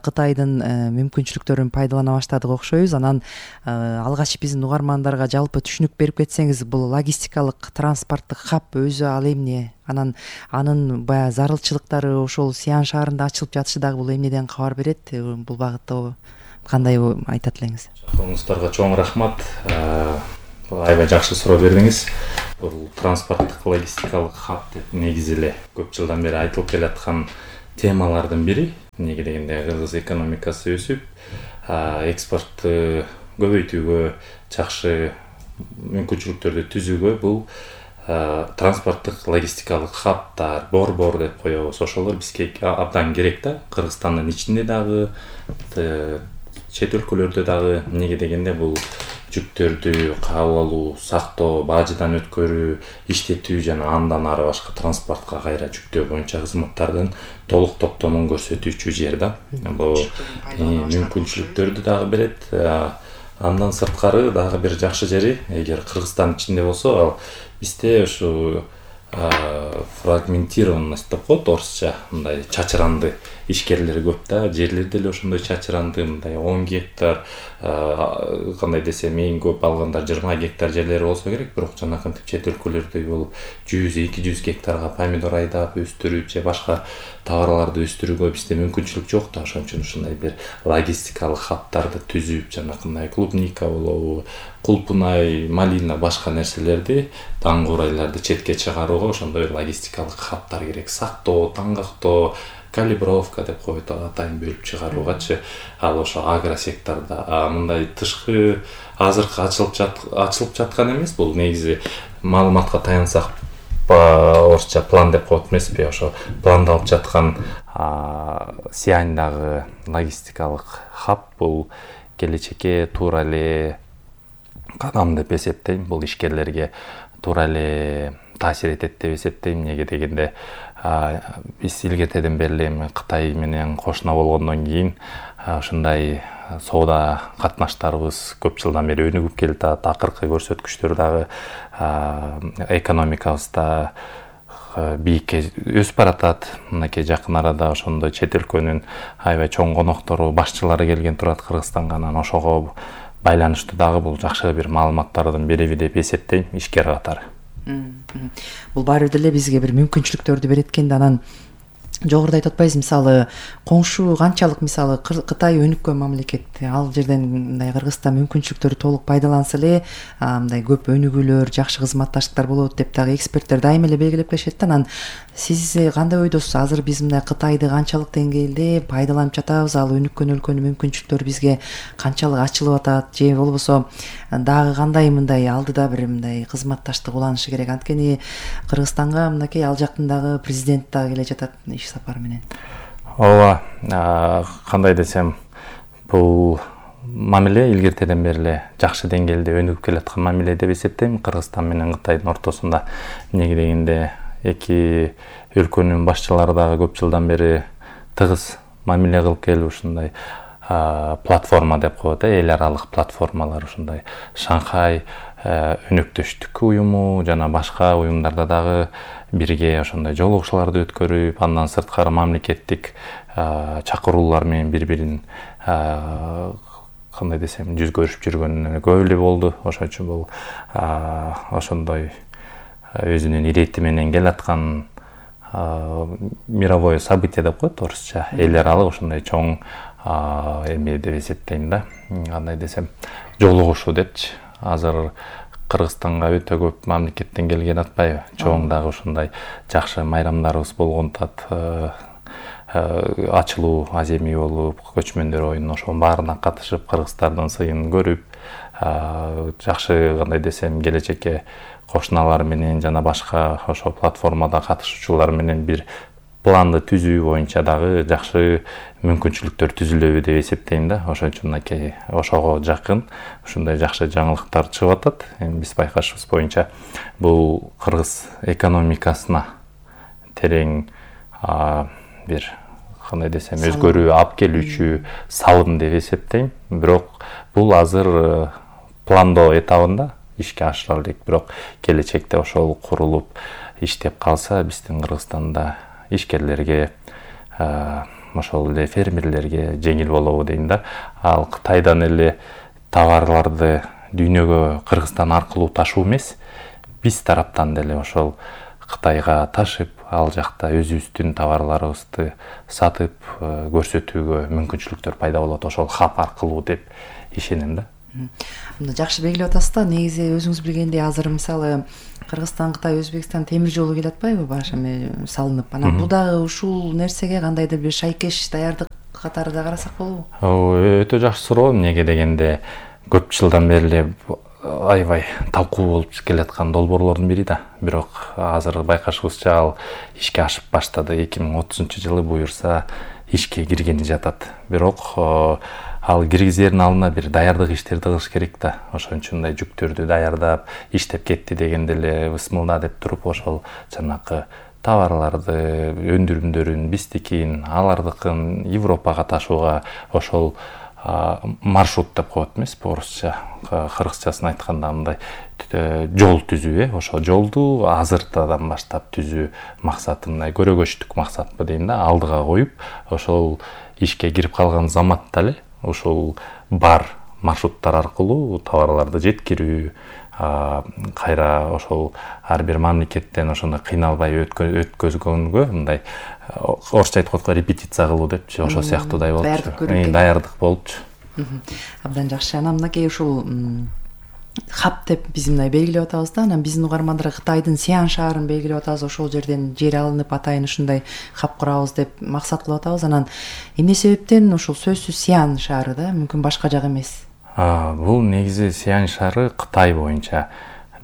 Кытайдын мүмкүнчүлүктөрүн пайдалана баштадык окшойбуз. Анан алгач биздин угармандарга жалпы түшүнүк берип кетсеңиз, бул логистикалык транспорттук хаб өзү ал эмне? Анан анын баягы зарылчылыктары ошол Сиан шаарында ачылып жатышы дагы бул эмнеден кабар берет? Бул багытта кандай айтат элеңиз? Чакыруңуздарга чоң рахмат. Аябай жакшы суроо бердиңиз. Бул транспорттук логистикалык хаб деп негизи эле көп жылдан бери айтылып келаткан темалардын бири. Эмнеге дегенде кыргыз экономикасы өсүп, экспортту көбөйтүүгө, жакшы мүмкүнчүлүктөрдү түзүүгө бул транспорттук логистикалык хабтар, борбор деп коебуз. Ошолор бизге абдан керек да. Кыргызстандын ичинде дагы, чет өлкөлөрдө дагы. Эмнеге дегенде бул жүктөрдү кабыл алуу, сактоо, бажыдан өткөрүү, иштетүү жана андан ары башка транспортко кайра жүктөө боюнча кызматтардын толук топтомун көрсөтүүчү жер да. Бул мүмкүнчүлүктөрдү дагы берет. Андан сырткары дагы бир жакшы жери, эгер Кыргызстан ичинде болсо, ал бизде ушу фрагментированность деп коет орусча, мындай чачыранды ишкерлер көп да. Жерлер деле ошондой чачыранды, мындай 10 гектар, кандай десем, эң көп алганда 20 гектар жерлери болсо керек, бирок жанакынтип чет өлкөлөрдөй болуп 100-200 гектарга помидор айдап өстүрүү же башка товарларды өстүрүүгө бизде мүмкүнчүлүк жок да. Ошон үчүн ушундай бир логистикалык хабтарды түзүп, жанакындай клубника болобу, кулпунай, малина, башка нерселерди, таңгурайларды четке чыгарууга ошондой логистикалык хабтар керек. Сактоо, таңгактоо, калибровка деп коет, атайын бөлүп чыгаруугачы. Ал ошо агросектордо мындай тышкы азыркы ачылып жаткан эмес. Бул негизи маалыматка таянсак, орусча план деп коет эмеспи, ошо пландалып жаткан Сиандагы логистикалык хаб бул келечекке туура эле кадам деп эсептейм. Бул ишкерлерге туура эле таасир этет деп эсептейм. Эмнеге дегенде биз илгертеден бери эле Кытай менен кошуна болгондон кийин ушундай соода катнаштарыбыз көп жылдан бери өнүгүп келатат. Акыркы көрсөткүчтөр дагы экономикабызда бийикке өсүп баратат. Мынакей жакын арада ошондой чет өлкөнүн аябай чоң коноктору, башчылары келген турат Кыргызстанга. Анан ошого байланыштуу дагы бул жакшы бир маалыматтардын бириби деп эсептейм ишкер катары. Бул баары деле бизге бир мүмкүнчүлүктөрдү берет экен да. Анан жогоруда айтып атпайбыз, мисалы коңшу канчалык, мисалы Кытай өнүккөн мамлекет, ал жерден мындай Кыргызстан мүмкүнчүлүктөрү толук пайдаланса эле мындай көп өнүгүүлөр, жакшы кызматташтыктар болот деп дагы эксперттер дайыма эле белгилеп келишет да. Анан сиз кандай ойдосуз? Азыр биз мындай Кытайды канчалык деңгээлде пайдаланып жатабыз? Ал өнүккөн өлкөнүн мүмкүнчүлүктөрү бизге канчалык ачылып атат? Же болбосо дагы кандай мындай алдыда бир мындай кызматташтык уланышы керек? Анткени Кыргызстанга мынакей ал жактан дагы президент дагы келе жатат иш сапар менен. Ооба, кандай десем, бул мамиле илгертеден бери эле жакшы деңгээлде өнүгүп келаткан мамиле деп эсептейм Кыргызстан менен Кытайдын ортосунда. Эмнеге дегенде эки өлкөнүн башчылары дагы көп жылдан бери тыгыз мамиле кылып келип ушундай платформа деп коет, эл аралык платформалар, ушундай Шанхай өнөктөштүк уюму жана башка уюмдарда дагы бирге ошондой жолугушууларды өткөрүп, андан сырткары мамлекеттик чакыруулар менен бири-бирин кандай десем жүз көрүшүп жүргөнүнө көп эле болду. Ошон үчүн бул ошондой өзүнүн ирети менен келаткан мировое событие деп коет орусча, эл аралык ошондой чоң эме деп эсептейм да. Кандай десем жолугушуу депчи. Азыр Кыргызстанга өтө көп мамлекеттен келген атпайбы? Чоң дагы ушундай жакшы майрамдарыбыз болгонтат. Ачылуу аземи болуп, көчмөндөр оюнуна ошонун баарына катышып, кыргыздардын сыйын көрүп, жакшы кандай десем келечекке кошуналар менен жана башка ошол платформада катышуучулар менен бир планды түзүү боюнча дагы жакшы мүмкүнчүлүктөр түзүлөбү деп эсептейм да. Ошон үчүн ошого жакын ушундай жакшы жаңылыктар чыгып атат. Эми биз байкашыбыз боюнча бул кыргыз экономикасына терең бир кандай десем өзгөрүү алып келүүчү салым деп эсептейм. Бирок бул азыр пландоо этабында ишке ашырыла элек. Бирок келечекте ошол курулуп иштеп калса биздин Кыргызстанда ишкерлерге, ошол эле фермерлерге жеңил болобу дейм да. Ал Кытайдан эле товарларды дүйнөгө Кыргызстан аркылуу ташуу эмес, биз тараптан деле ошол Кытайга ташып, ал жакта өзүбүздүн товарларыбызды сатып көрсөтүүгө мүмкүнчүлүктөр пайда болот ошол хаб аркылуу деп ишенем да. Жакшы белгилеп атасыз да. Негизи өзүңүз билгендей азыр мисалы Кыргызстан, Кытай, Өзбекстан темир жолу келе атпайбы баш эме салынып. Анан бул дагы ушул нерсеге кандайдыр бир шайкеш даярдык катары да карасак болобу? Өтө жакшы суроо. Эмнеге дегенде көп жылдан бери эле аябай талкуу болуп келе аткан долбоорлордун бири да. Бирок азыр байкашыбызча ал ишке ашып баштады. 2030-жылы буюрса ишке киргени жатат. Бирок ал киргизердин алдына бир даярдык иштерди кылыш керек да. Ошон үчүн мындай жүктөрдү даярдап, иштеп кетти дегенде эле высмылда деп туруп ошол жанакы товарларды, өндүрүмдөрүн, биздикин, алардыкын Европага ташууга ошол маршрут деп коет эмеспи орусча, кыргызчасын айтканда мындай жол түзүү, ошол жолду азыртадан баштап түзүү максаты мындай көрөгөчтүк максатпы дейм да, алдыга коюп, ошол ишке кирип калган заматта эле ошол бар маршруттар аркылуу товарларды жеткирүү, кайра ошол ар бир мамлекеттен ошондой кыйналбай өткөзгөнгө мындай орусча айтып коет репетиция кылуу депчи, ошол сыяктуудай болчу. Даярдык болчу. Абдан жакшы. Анан мынакей ушул хаб деп биз мындай белгилеп атабыз да. Анан биздин угармандарга Кытайдын Сиан шаарын белгилеп атабыз. Ошол жерден жер алынып атайын ушундай хаб курабыз деп максат кылып атабыз. Анан эмне себептен ушул сөзсүз Сиан шаары да, мүмкүн башка жак эмес? Бул негизи Сиан шаары Кытай боюнча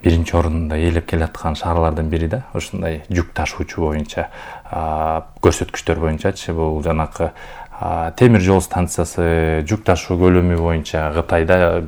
биринчи орунда ээлеп келаткан шаарлардын бири да. Ушундай жүк ташуучу боюнча, көрсөткүчтөр боюнчачы бул жанакы темир жол станциясы жүк ташуу көлөмү боюнча Кытайда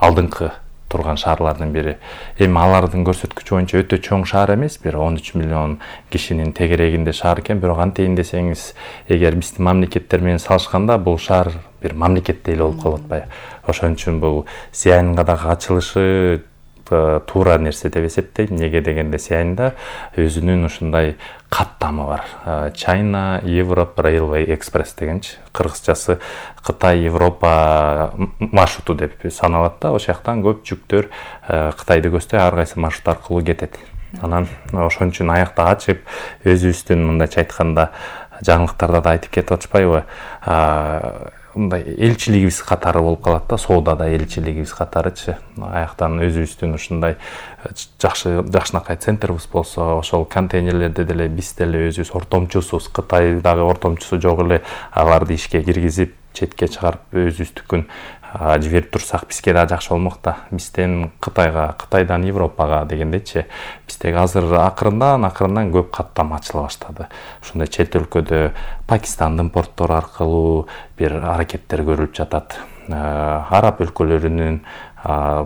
алдыңкы турган шаарлардын бири. Эми алардын көрсөткүчү боюнча өтө чоң шаар эмес, бир 13 миллион кишинин тегерегинде шаар экен, бирок антейин десеңиз, эгер биздин мамлекеттер менен салышканда бул шаар бир мамлекеттей эле болуп калып атпайбы. Ошон үчүн бул Сианга дагы ачылышы туура нерсе деп эсептейм. Неге дегенде Сианда өзүнүн ушундай каттамы бар. China Europe Railway Express дегенчи. Кыргызчасы Кытай Европа маршруту деп саналат да. Ошол жактан көп жүктөр Кытайды көздөй ар кайсы маршрут аркылуу кетет. Анан ошон үчүн аякта ачып өзүбүздүн мындайча айтканда жаңылыктарда да айтып кетип атышпайбы? Мындай элчилигибиз катары болуп калат да, соодада элчилигибиз катарычы. Аяктан өзүбүздүн ушундай жакшынакай центрибиз болсо, ошол контейнерлерди деле биз деле өзүбүз ортомчусубуз. Кытайдагы ортомчусу жок эле аларды ишке киргизип, четке чыгарып өзүбүздүкүн жиберип турсак бизге да жакшы болмок да. Бизден Кытайга, Кытайдан Европага дегендечи, биздеги азыр акырындан көп каттама ачыла баштады. Ушундай чет өлкөдө Пакистандын порттору аркылуу бир аракеттер көрүлүп жатат. Араб өлкөлөрүнүн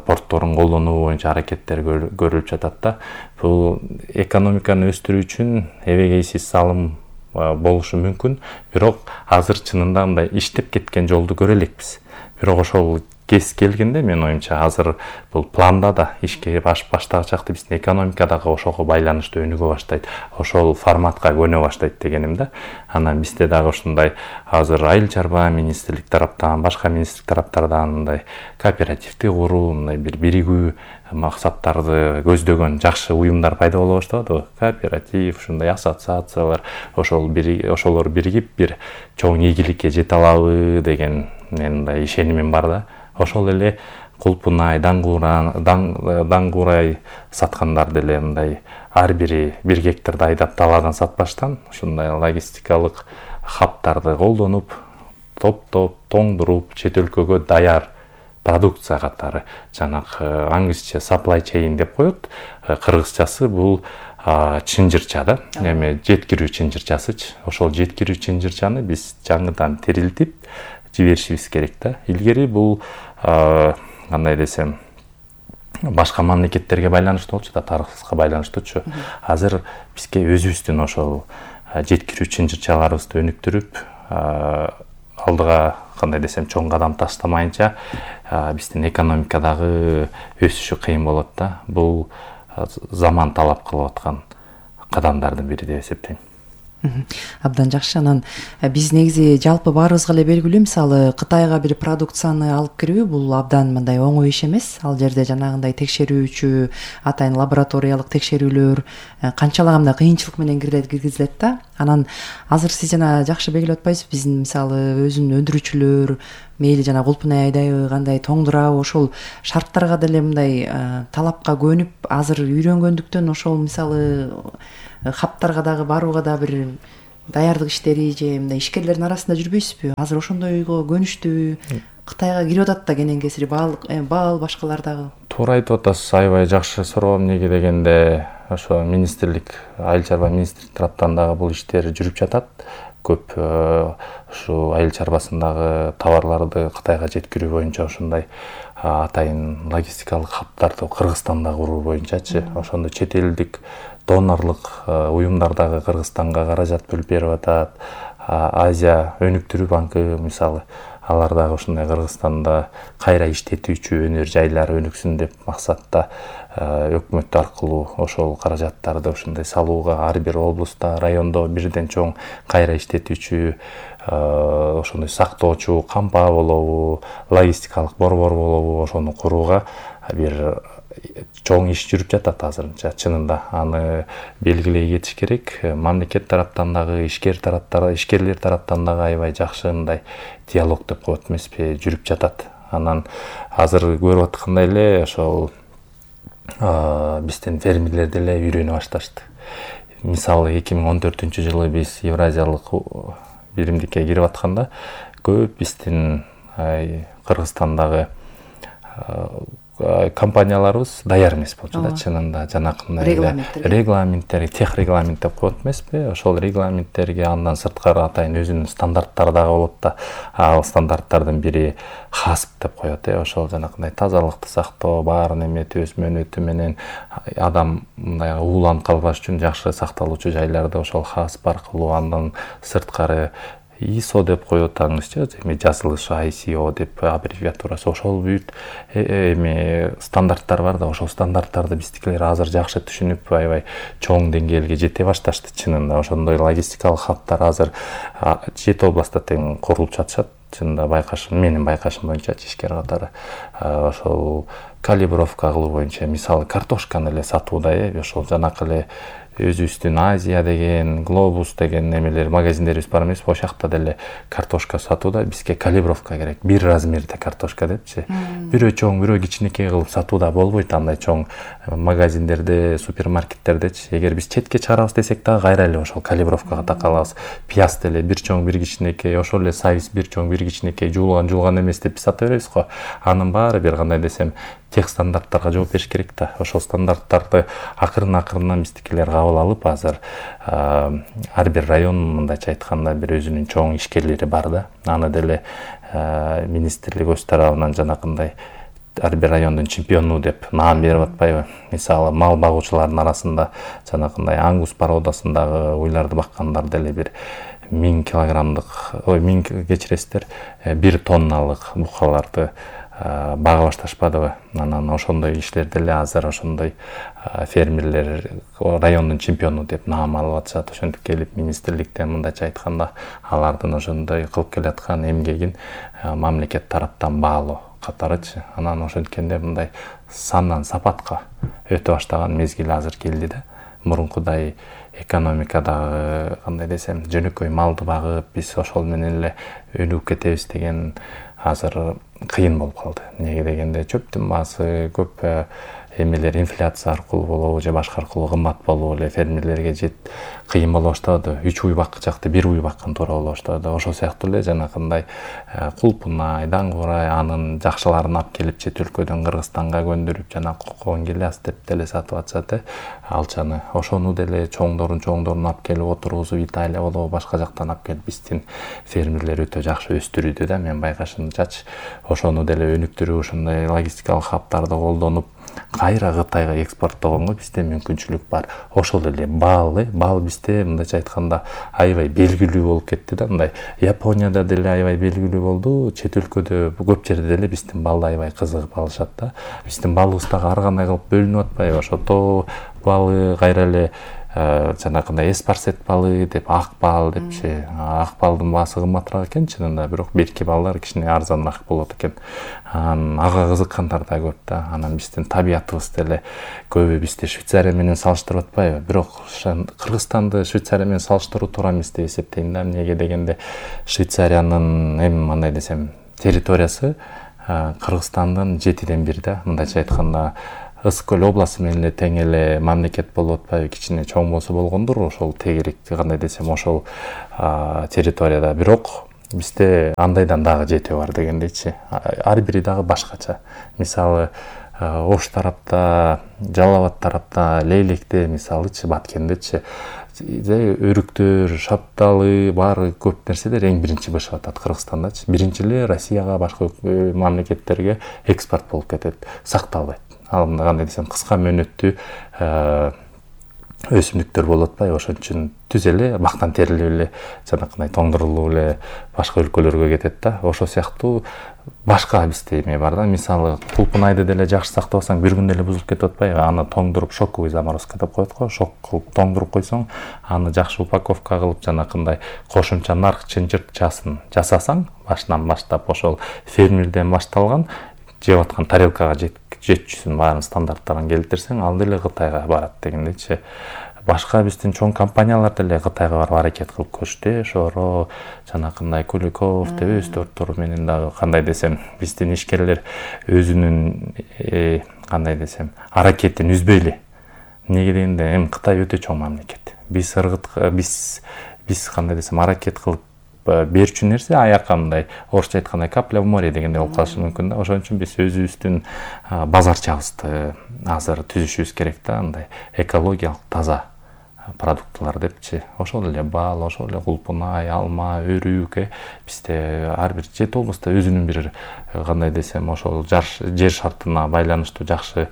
портторун колдонуу боюнча аракеттер көрүлүп жатат да. Бул экономиканы өстүрүү үчүн эбегейсиз салым болушу мүмкүн, бирок азыр чынында мындай иштеп кеткен жолду көрө элекпиз. Бирок ошол кез келгенде мен оюмча азыр бул планда да ишке баштагычакты биздин экономика дагы ошого байланыштуу өнүгө баштайт, ошол форматка көнө баштайт дегеним да. Анан бизде дагы ушундай азыр айыл чарба министрлик тараптан, башка министрлик тараптардан мындай кооперативди куруу, мындай бир биригүү максаттарды көздөгөн жакшы уюмдар пайда боло баштады. Кооператив, ушундай ассоциациялар, ошолор биригип бир чоң ийгиликке жете алабы деген мындай ишенимим бар да. Ошол эле Кулпунай, Даңгурай саткандар деле мындай ар бири 1 гектарды айдап даладан сатпаштан ушундай логистикалык хабтарды колдонуп, топтоп, тоңдуруп, чет өлкөгө даяр продукция катары жанакы англисче supply chain деп коет. Кыргызчасы бул чынжырча да. Эми жеткирүү чынжырчасычы. Ошол жеткирүү чынжырчаны биз жаңыдан тирилтип жиберишибиз керек да. Илгери бул кандай десем, башка мамлекеттерге байланыштуу болчу да, тарыхыбызга байланыштуучу. Азыр бизге өзүбүздүн ошол жеткирүү чынжырчаларыбызды өнүктүрүп, алдыга кандай десем чоң кадам таштамайынча биздин экономикадагы өсүшү кыйын болот да. Бул заман талап кылып аткан кадамдардын бири деп эсептейм. Абдан жакшы. Анан биз негизи жалпы баарыбызга эле белгилүү, мисалы Кытайга бир продукцияны алып кирүү бул абдан мындай оңой иш эмес. Ал жерде жанагындай текшерүүчү, атайын лабораториялык текшерүүлөр канчалагандай кыйынчылык менен киргизилет да. Анан азыр сиз жана жакшы белгилеп атпайсызбы, биздин мисалы өзүнүн өндүрүүчүлөр мейли жана кулпунай айдайбы, кандай тоңдурабы, ошол шарттарга деле мындай талапка көнүп азыр үйрөнгөндүктөн ошол мисалы хаптарга дагы барууга да бир даярдык иштери же мындай ишкерлердин арасында жүрбөйсүзбү? Азыр ошондойго көнүштү, Кытайга кирип атат да кенен кесири баал башкалар дагы. Туура айтып атасыз, аябай жакшы суроо. Эмнеге дегенде ошо министрлик, айыл чарба министрлик тараптан дагы бул иштер жүрүп жатат. Көп ушу айыл чарбасындагы товарларды Кытайга жеткирүү боюнча ошондой атайын логистикалык хабтарды Кыргызстанда куруу боюнчачы, ошондой чет элдик донорлук уюмдар дагы Кыргызстанга каражат бөлүп берип атат. Азия өнүктүрүү банкы мисалы, алар дагы ушундай Кыргызстанда кайра иштетүүчү өнөр жайлары өнүксүн деп максатта өкмөт аркылуу ошол каражаттарды ушундай салууга ар бир облустта, райондо бирден чоң кайра иштетүүчү, ошондой сактоочу кампа болобу, логистикалык борбор болобу, ошону курууга бир чоң иш жүрүп жатат азырынча. Чынында аны белгилей кетиш керек. Мамлекет тараптан дагы, ишкерлер тараптан дагы аябай жакшы мындай диалог деп коет эмеспи, жүрүп жатат. Анан азыр көрүп аткандай эле ошол биздин фермерлер деле үйрөнө башташты. Мисалы 2014-жылы биз Евразиялык биримдикке кирип атканда көп биздин Кыргызстандагы компанияларыбыз даяр эмес болчу да, чынында жанакындай регламенттер, тех регламент деп коет эмеспи? Ошол регламенттерге андан сырткары атайын өзүнүн стандарттары дагы болот да. Ал стандарттардын бири хасп деп коет, ошол жанакындай тазалыкты сактоо, баарын эметип өз мөөнөтү менен адам мындай ууланып калбаш үчүн жакшы сакталуучу жайларды ошол хасп аркылуу, андан сырткары ISO деп коет аңызчы, эми жазылышы ICO деп аббревиатурасы, ошол бүт эми стандарттар бар да, ошол стандарттарды биздикилер азыр жакшы түшүнүп, аябай чоң деңгээлге жете башташты. Чынында ошондой логистикалык хабтар азыр 7 областта тең курулуп жатышат. Чынында байкашым, менин байкашым боюнча ишкер катары ошол калибровка кылуу боюнча, мисалы картошканы эле сатууда, ошол жанакы эле өзүбүздүн Азия деген, Глобус деген немелер магазиндерибиз бар эмеспи? Ошол жакта деле картошка сатууда бизге калибровка керек. Бир размерде картошка депчи. Бирөө чоң, бирөө кичинекей кылып сатууда болбойт андай чоң магазиндерде, супермаркеттердечи. Эгер биз четке чыгарабыз десек дагы кайра эле ошол калибровкага такалабыз. Пияз деле бир чоң, бир кичинекей, ошол эле сайыз бир чоң, бир кичинекей, жуулган эмес деп сата беребиз го. Анын баары бир кандай десем тех стандарттарга жооп бериш керек да. Ошол стандарттарды акырын биздикилер кабыл алып, азыр ар бир район мындайча айтканда бир өзүнүн чоң ишкерлери бар да. Аны деле министрлик өз тарабынан жанакындай ар бир райондун чемпиону деп наам берип атпайбы? Мисалы мал багуучулардын арасында жанакындай аңгус породасындагы уйларды баккандар деле бир 1000 килограммдык, 1000 кечиресиздер, 1 тонналык букаларды бага башташпадыбы? Анан ошондой иштер деле азыр ошондой фермерлер райондун чемпиону деп наам алып атышат. Ошентип келип министрликтен мындайча айтканда алардын ошондой кылып келаткан эмгегин мамлекет тараптан баалоо катарычы. Анан ошенткенде мындай сандан сапатка өтө баштаган мезгил азыр келди да. Мурункудай экономикадагы кандай десем жөнөкөй малды багып биз ошол менен эле өнүгүп кетебиз деген азыр кыйын болуп калды. Неге дегенде чөптүн баасы көп эмелер инфляция аркылуу болобу же башка аркылуу кымбат болуп эле фермерлерге кыйын боло баштады. 3 уй баккычакты 1 уй баккан туура боло баштады. Ошол сыяктуу эле жанакындай кулпунай, даңгурай анын жакшыларын алып келип чет өлкөдөн Кыргызстанга көндүрүп жана кокон гиляс деп деле сатып атышат. Алчаны ошону деле чоңдорун алып келип отургузуп Италия болобу башка жактан алып келип биздин фермерлер өтө жакшы өстүрүүдө да. Мен байкашымчачы ошону деле өнүктүрүү, ошондой логистикалык хабтарды колдонуп кайра Кытайга экспорттогонго бизде мүмкүнчүлүк бар. Ошол эле бал бизде мындайча айтканда аябай белгилүү болуп кетти да. Мындай Японияда деле аябай белгилүү болду. Чет өлкөдө көп жерде деле биздин балды аябай кызыгып алышат да. Биздин балыбыз дагы ар кандай кылып бөлүнүп атпайбы? Ошо тоо балы, кайра эле жанагындай эспарсет балы деп, ак бал депчи. Ак балдын баасы кымбатыраак экен чынында, бирок берки балдар кичине арзаныраак болот экен. Ага кызыккандар да көп да. Анан биздин табиятыбыз деле көбү бизди Швейцария менен салыштырып атпайбы? Бирок Кыргызстанды Швейцария менен салыштыруу туура эмес деп эсептейм да. Эмнеге дегенде Швейцариянын андай десем территориясы Кыргызстандын 7/1 да. Мындайча айтканда Ысык көл областы менен эле тең эле мамлекет болуп атпайбы? Кичине чоң болсо болгондур ошол тегерек кандай десем ошол территорияда. Бирок бизде андайдан дагы жети бар дегендейчи. Ар бири дагы башкача. Мисалы Ош тарапта, Жалал Абад тарапта, Лейликте, мисалычы Баткендечи өрүктөр, шапталы, баары көп нерселер эң биринчи бышып атат Кыргызстандачы. Биринчи эле Россияга, башка мамлекеттерге экспорт болуп кетет, сакталбайт. Ал кандай десем кыска мөөнөттүү өсүмдүктөр болуп атпайбы? Ошон үчүн түз эле бактан терилип эле жанакындай тоңдурулуп эле башка өлкөлөргө кетет да. Ошол сыяктуу башка бизде эме бар да. Мисалы кулпунайды деле жакшы сактабасаң бир күндө эле бузулуп кетип атпайбы? Аны тоңдуруп шоковый заморозка деп коет го. Шок кылып тоңдуруп койсоң, аны жакшы упаковка кылып жанакындай кошумча нарк чынжыртчасын жасасаң, башынан баштап ошол фермерден башталган жеп аткан тарелкага жетчүсүн баарын стандарттарын келтирсең, ал деле Кытайга барат дегендейчи. Башка биздин чоң компаниялар деле Кытайга барып аракет кылып көрүштү. Шоро, жанакындай Куликов деп өстөрттөр менен дагы кандай десем, биздин ишкерлер өзүнүн кандай десем, аракетин үзбөйлү. Эмнеге дегенде, Кытай өтө чоң мамлекет. Биз кандай десем, аракет кылып берчү нерсе аякандай, орусча айткандай капля в море дегенде болуп калышы мүмкүн да. Ошон үчүн биз өзүбүздүн базарчабызды азыр түзүшүбүз керек да, андай экологиялык таза продуктылар депчи. Ошол эле бал, ошол эле кулпунай, алма, өрүк, бизде ар бир 7 областта өзүнүн бир кандай десем, ошол жер шартына байланыштуу жакшы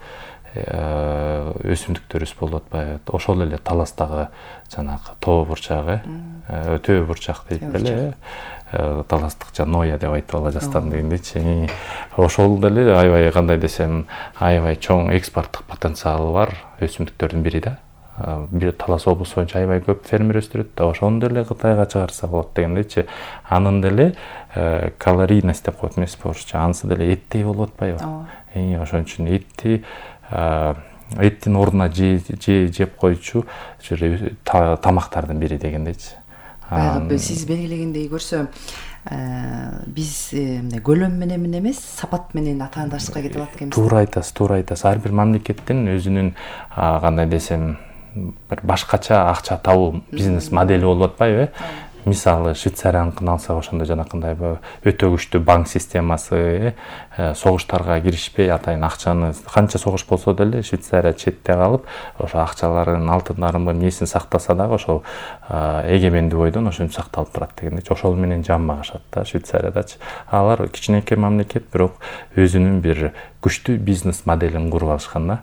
өсүмдүктөрүбүз болуп атпайбы? Ошол эле Таластагы жанагы тоо бурчагы, өтө бурчак дейт эле, таластыкча ноя деп айтып ала жастан дегендейчи. Ошол деле аябай кандай десем, аябай чоң экспорттук потенциалы бар өсүмдүктөрдүн бири да. Бир Талас облусу боюнча аябай көп фермер өстүрөт да, ошону деле Кытайга чыгарса болот дегендейчи. Анын деле калорийность деп коет эмеспи орусча, анысы деле эттей болуп атпайбы? Ошон үчүн эттин ордуна жеп койчу тамактардын бири дегендейчи. Баягы сиз белгилегендей көрсө, биз көлөм менен эмес, сапат менен атаандашка кетип атат экенбиз. Туура айтасыз. Ар бир мамлекеттин өзүнүн кандай десем, бир башкача акча табуу бизнес модели болуп атпайбы? Мисалы Швейцарияныкын алсак, ошондой жанакындай өтө күчтүү банк системасы, согуштарга киришпей атайын акчаны, канча согуш болсо деле Швейцария четте калып, ошо акчаларын, алтындарын эмнесин сактаса дагы ошол эгемендүү бойдон ошентип сакталып турат дегендейчи. Ошол менен жан багышат да Швейцариядачы. Алар кичинекей мамлекет, бирок өзүнүн бир күчтүү бизнес моделин куруп алышкан да.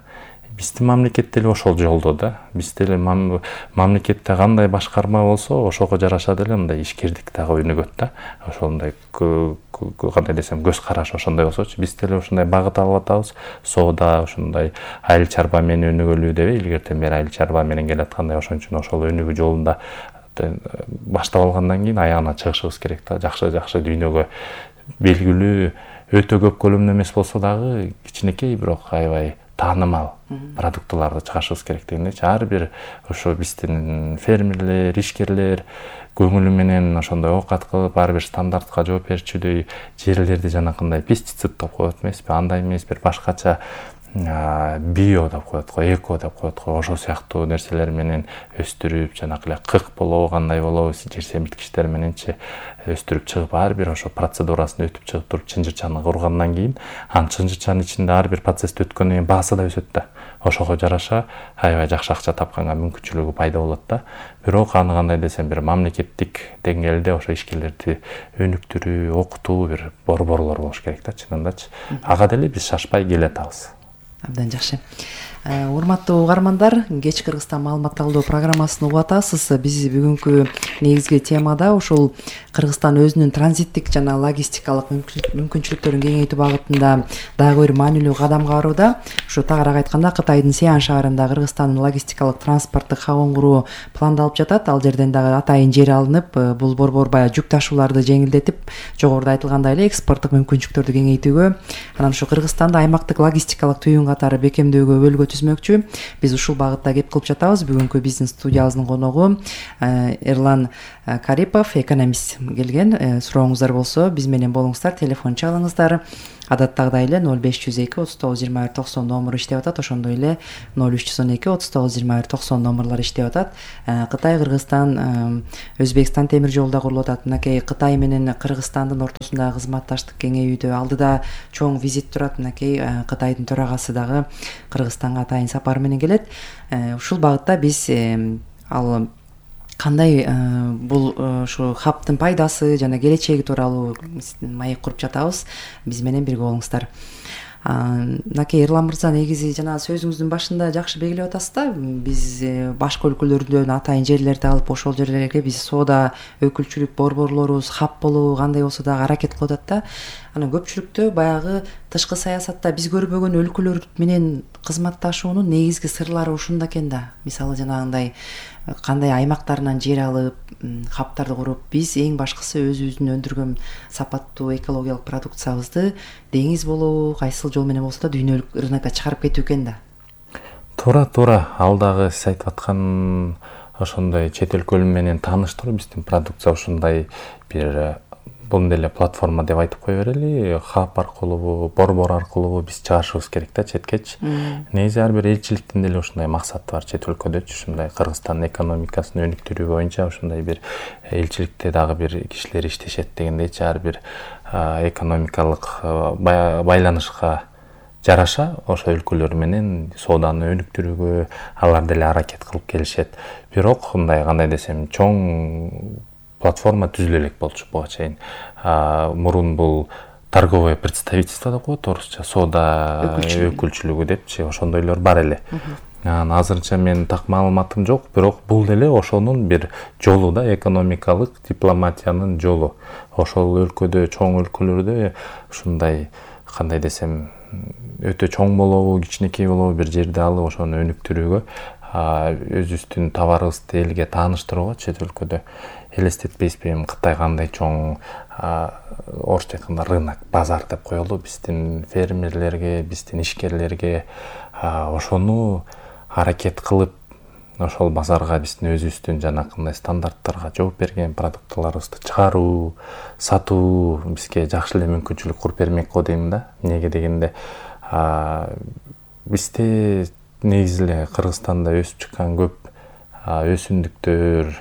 Биздин мамлекет деле ошол жолдо да. Биз деле мамлекетте кандай башкарма болсо, ошого жараша деле мындай ишкердик дагы өнүгөт да. Ошондой кандай десем, көз караш ошондой болсочу, биз деле ошондой багыт алып атабыз. Соода ошондой айыл чарба менен өнүгөлүү деп илгертен бери айыл чарба менен келаткандай, ошон үчүн ошол өнүгүү жолунда баштап алгандан кийин аягына чыгышыбыз керек да. Жакшы дүйнөгө белгилүү, өтө көп көлөмдө эмес болсо дагы кичинекей, бирок аябай таанымал продуктыларды чыгарышыбыз керек дегендейчи. Ар бир ошо биздин фермерлер, ишкерлер көңүлү менен ошондой оокат кылып, ар бир стандартка жооп берчүдөй жерлерди жанакындай пестицид деп коет эмеспи, андай эмес, бир башкача био деп коет го, эко деп коет го, ошол сыяктуу нерселер менен өстүрүп, жанакы эле кык болобу, кандай болобу, жер семирткичтер мененчи өстүрүп чыгып, ар бир ошо процедурасын өтүп чыгып туруп чынжырчаны кургандан кийин, анын чынжырчанын ичинде ар бир процессти өткөндөн кийин баасы да өсөт да. Ошого жараша аябай жакшы акча тапканга мүмкүнчүлүгү пайда болот да. Бирок аны кандай десем, бир мамлекеттик деңгээлде ошо ишкерлерди өнүктүрүү, окутуу бир борборлор болуш керек да, чынындачы. Ага деле биз шашпай келе атабыз. Абдан жакшы. Урматтуу угармандар, Кеч Кыргызстан маалымат алуу программасын угуп атасыз. Биз бүгүнкү негизги темада ушул Кыргызстан өзүнүн транзиттик жана логистикалык мүмкүнчүлүктөрүн кеңейтүү багытында дагы бир маанилүү кадам кароодо. Ушу тагыраак айтканда Кытайдын Сиан шаарында Кыргызстандын логистикалык транспорттук хабын куруу пландалып жатат. Ал жерден дагы атайын жер алынып, бул борбор баягы жүк ташууларды жеңилдетип, жогоруда айтылгандай эле экспорттук мүмкүнчүлүктөрдү кеңейтүүгө, анан ушу Кыргызстанды аймактык логистикалык түйүн катары бекемдөөгө бөлгө түзмөкчү. Биз ушул багытта кеп кылып жатабыз. Бүгүнкү биздин студиябыздын коногу Эрлан Карипов, экономист келген. Сурооңуздар болсо биз менен болуңуздар, телефон чалыңыздар. Адаттагыдай эле 0502 39 21 90 номуру иштеп атат. Ошондой эле 0312 39 21 90 номурлары иштеп атат. Кытай, Кыргызстан, Өзбекстан темир жолу да курулуп атат. Мынакей Кытай менен Кыргызстандын ортосундагы кызматташтык кеңейүүдө алдыда чоң визит турат. Мынакей Кытайдын төрагасы дагы Кыргызстанга атайын сапар менен келет. Ушул багытта биз ал кандай бул ушу хабтын пайдасы жана келечеги тууралуу маек куруп жатабыз. Биз менен бирге болуңуздар. Мынакей Эрлан мырза, негизи жана сөзүңүздүн башында жакшы белгилеп атасыз да, биз башка өлкөлөрдөн атайын жерлерди алып, ошол жерлерге биз соода өкүлчүлүк борборлорубуз хаб болуу кандай болсо дагы аракет кылып атат да. Анан көпчүлүктө баягы тышкы саясатта биз көрбөгөн өлкөлөр менен кызматташуунун негизги сырлары ушунда экен да. Мисалы жанагындай кандай аймактарынан жер алып, хабтарды куруп, биз эң башкысы өзүбүздүн өндүргөн сапаттуу экологиялык продукциябызды деңиз болобу, кайсыл жол менен болсо да дүйнөлүк рынокко чыгарып кетүү экен да. Туура. Ал дагы сиз айтып аткан ошондой чет өлкөлөр менен тааныштыруу биздин продукция ушундай бир бул деле платформа деп айтып кое берели. Хаб аркылуу, борбор аркылуу биз чыгарышыбыз керек да четкечи. Негизи ар бир элчиликтин деле ушундай максаты бар чет өлкөдөчү. Ушундай Кыргызстандын экономикасын өнүктүрүү боюнча ушундай бир элчиликте дагы бир кишилер иштешет дегендейчи. Ар бир экономикалык байланышка жараша ошо өлкөлөр менен сооданы өнүктүрүүгө алар деле аракет кылып келишет. Бирок мындай кандай десем, чоң платформа түзүлө элек болчу буга чейин. Мурун бул торговое представительство деп коет орусча, соода өкүлчүлүгү депчи, ошондойлор бар эле. Азырынча мен так маалыматым жок, бирок бул деле ошонун бир жолу да, экономикалык дипломатиянын жолу. Ошол өлкөдө, чоң өлкөлөрдө ушундай кандай десем, өтө чоң болобу, кичинекей болобу бир жерди алып ошону өнүктүрүүгө, өзүбүздүн товарыбызды элге тааныштырууга чет өлкөдө элестетпейсизби, Кытай кандай чоң орусча айтканда рынок, базар деп коелу биздин фермерлерге, биздин ишкерлерге. Ошону аракет кылып, ошол базарга биздин өзүбүздүн жанакындай стандарттарга жооп берген продуктыларыбызды чыгаруу, сатуу бизге жакшы эле мүмкүнчүлүк куруп бермек го дейм да. Эмнеге дегенде, бизде негизи эле Кыргызстанда өсүп чыккан көп өсүмдүктөр,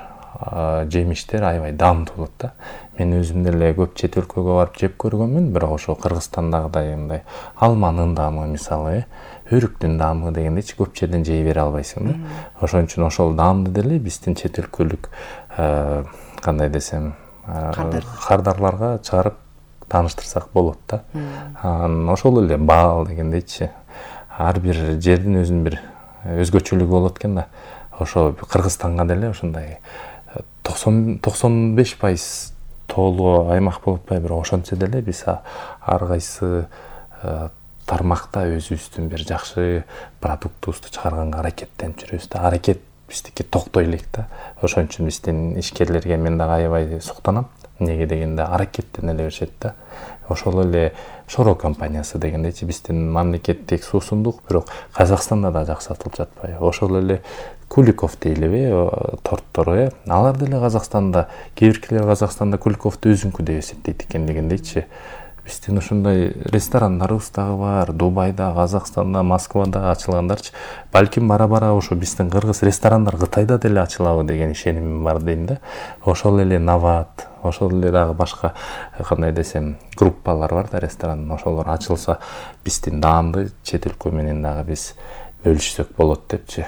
жемиштер аябай даамдуу болот да. Мен өзүм деле көп чет өлкөгө барып жеп көргөнмүн, бирок ошо Кыргызстандагыдай мындай алманын даамы, мисалы, өрүктүн даамы дегендейчи көп жерден жей бере албайсың да. Ошон үчүн ошол даамды деле биздин чет өлкөлүк кандай десем, кардарларга чыгарып тааныштырсак болот да. Ошол эле баал дегендейчи. Ар бир жердин өзүнүн бир өзгөчөлүгү болот экен да. Ошо Кыргызстанга деле ушундай 95% тоолуу аймак болуп атпайбы, бирок ошончо деле биз ар кайсы тармакта өзүбүздүн бир жакшы продуктубузду чыгарганга аракеттенип жүрөбүз да. Аракет биздики токтой элек да. Ошон үчүн биздин ишкерлерге мен дагы аябай суктанам. Эмнеге дегенде аракеттене эле беришет да. Ошол эле Шоро компаниясы дегендейчи биздин мамлекеттик суусундук, бирок Казакстанда да жакшы сатылып жатпайбы. Ошол эле Куликов дейлиби, торттор, алар деле Казакстанда, кээ биркилер Казакстанда Куликовду өзүнкү деп эсептейт экен дегендейчи. Биздин ушундай ресторандарыбыз дагы бар, Дубайда, Казакстанда, Москвада ачылгандарчы. Балким бара-бара ошо биздин кыргыз ресторандар Кытайда деле ачылабы деген ишенимим бар дейм да. Ошол эле Нават, ошол эле дагы башка кандай десем группалар бар да ресторан, ошолор ачылса биздин даамды чет өлкө менен дагы биз бөлүшсөк болот депчи.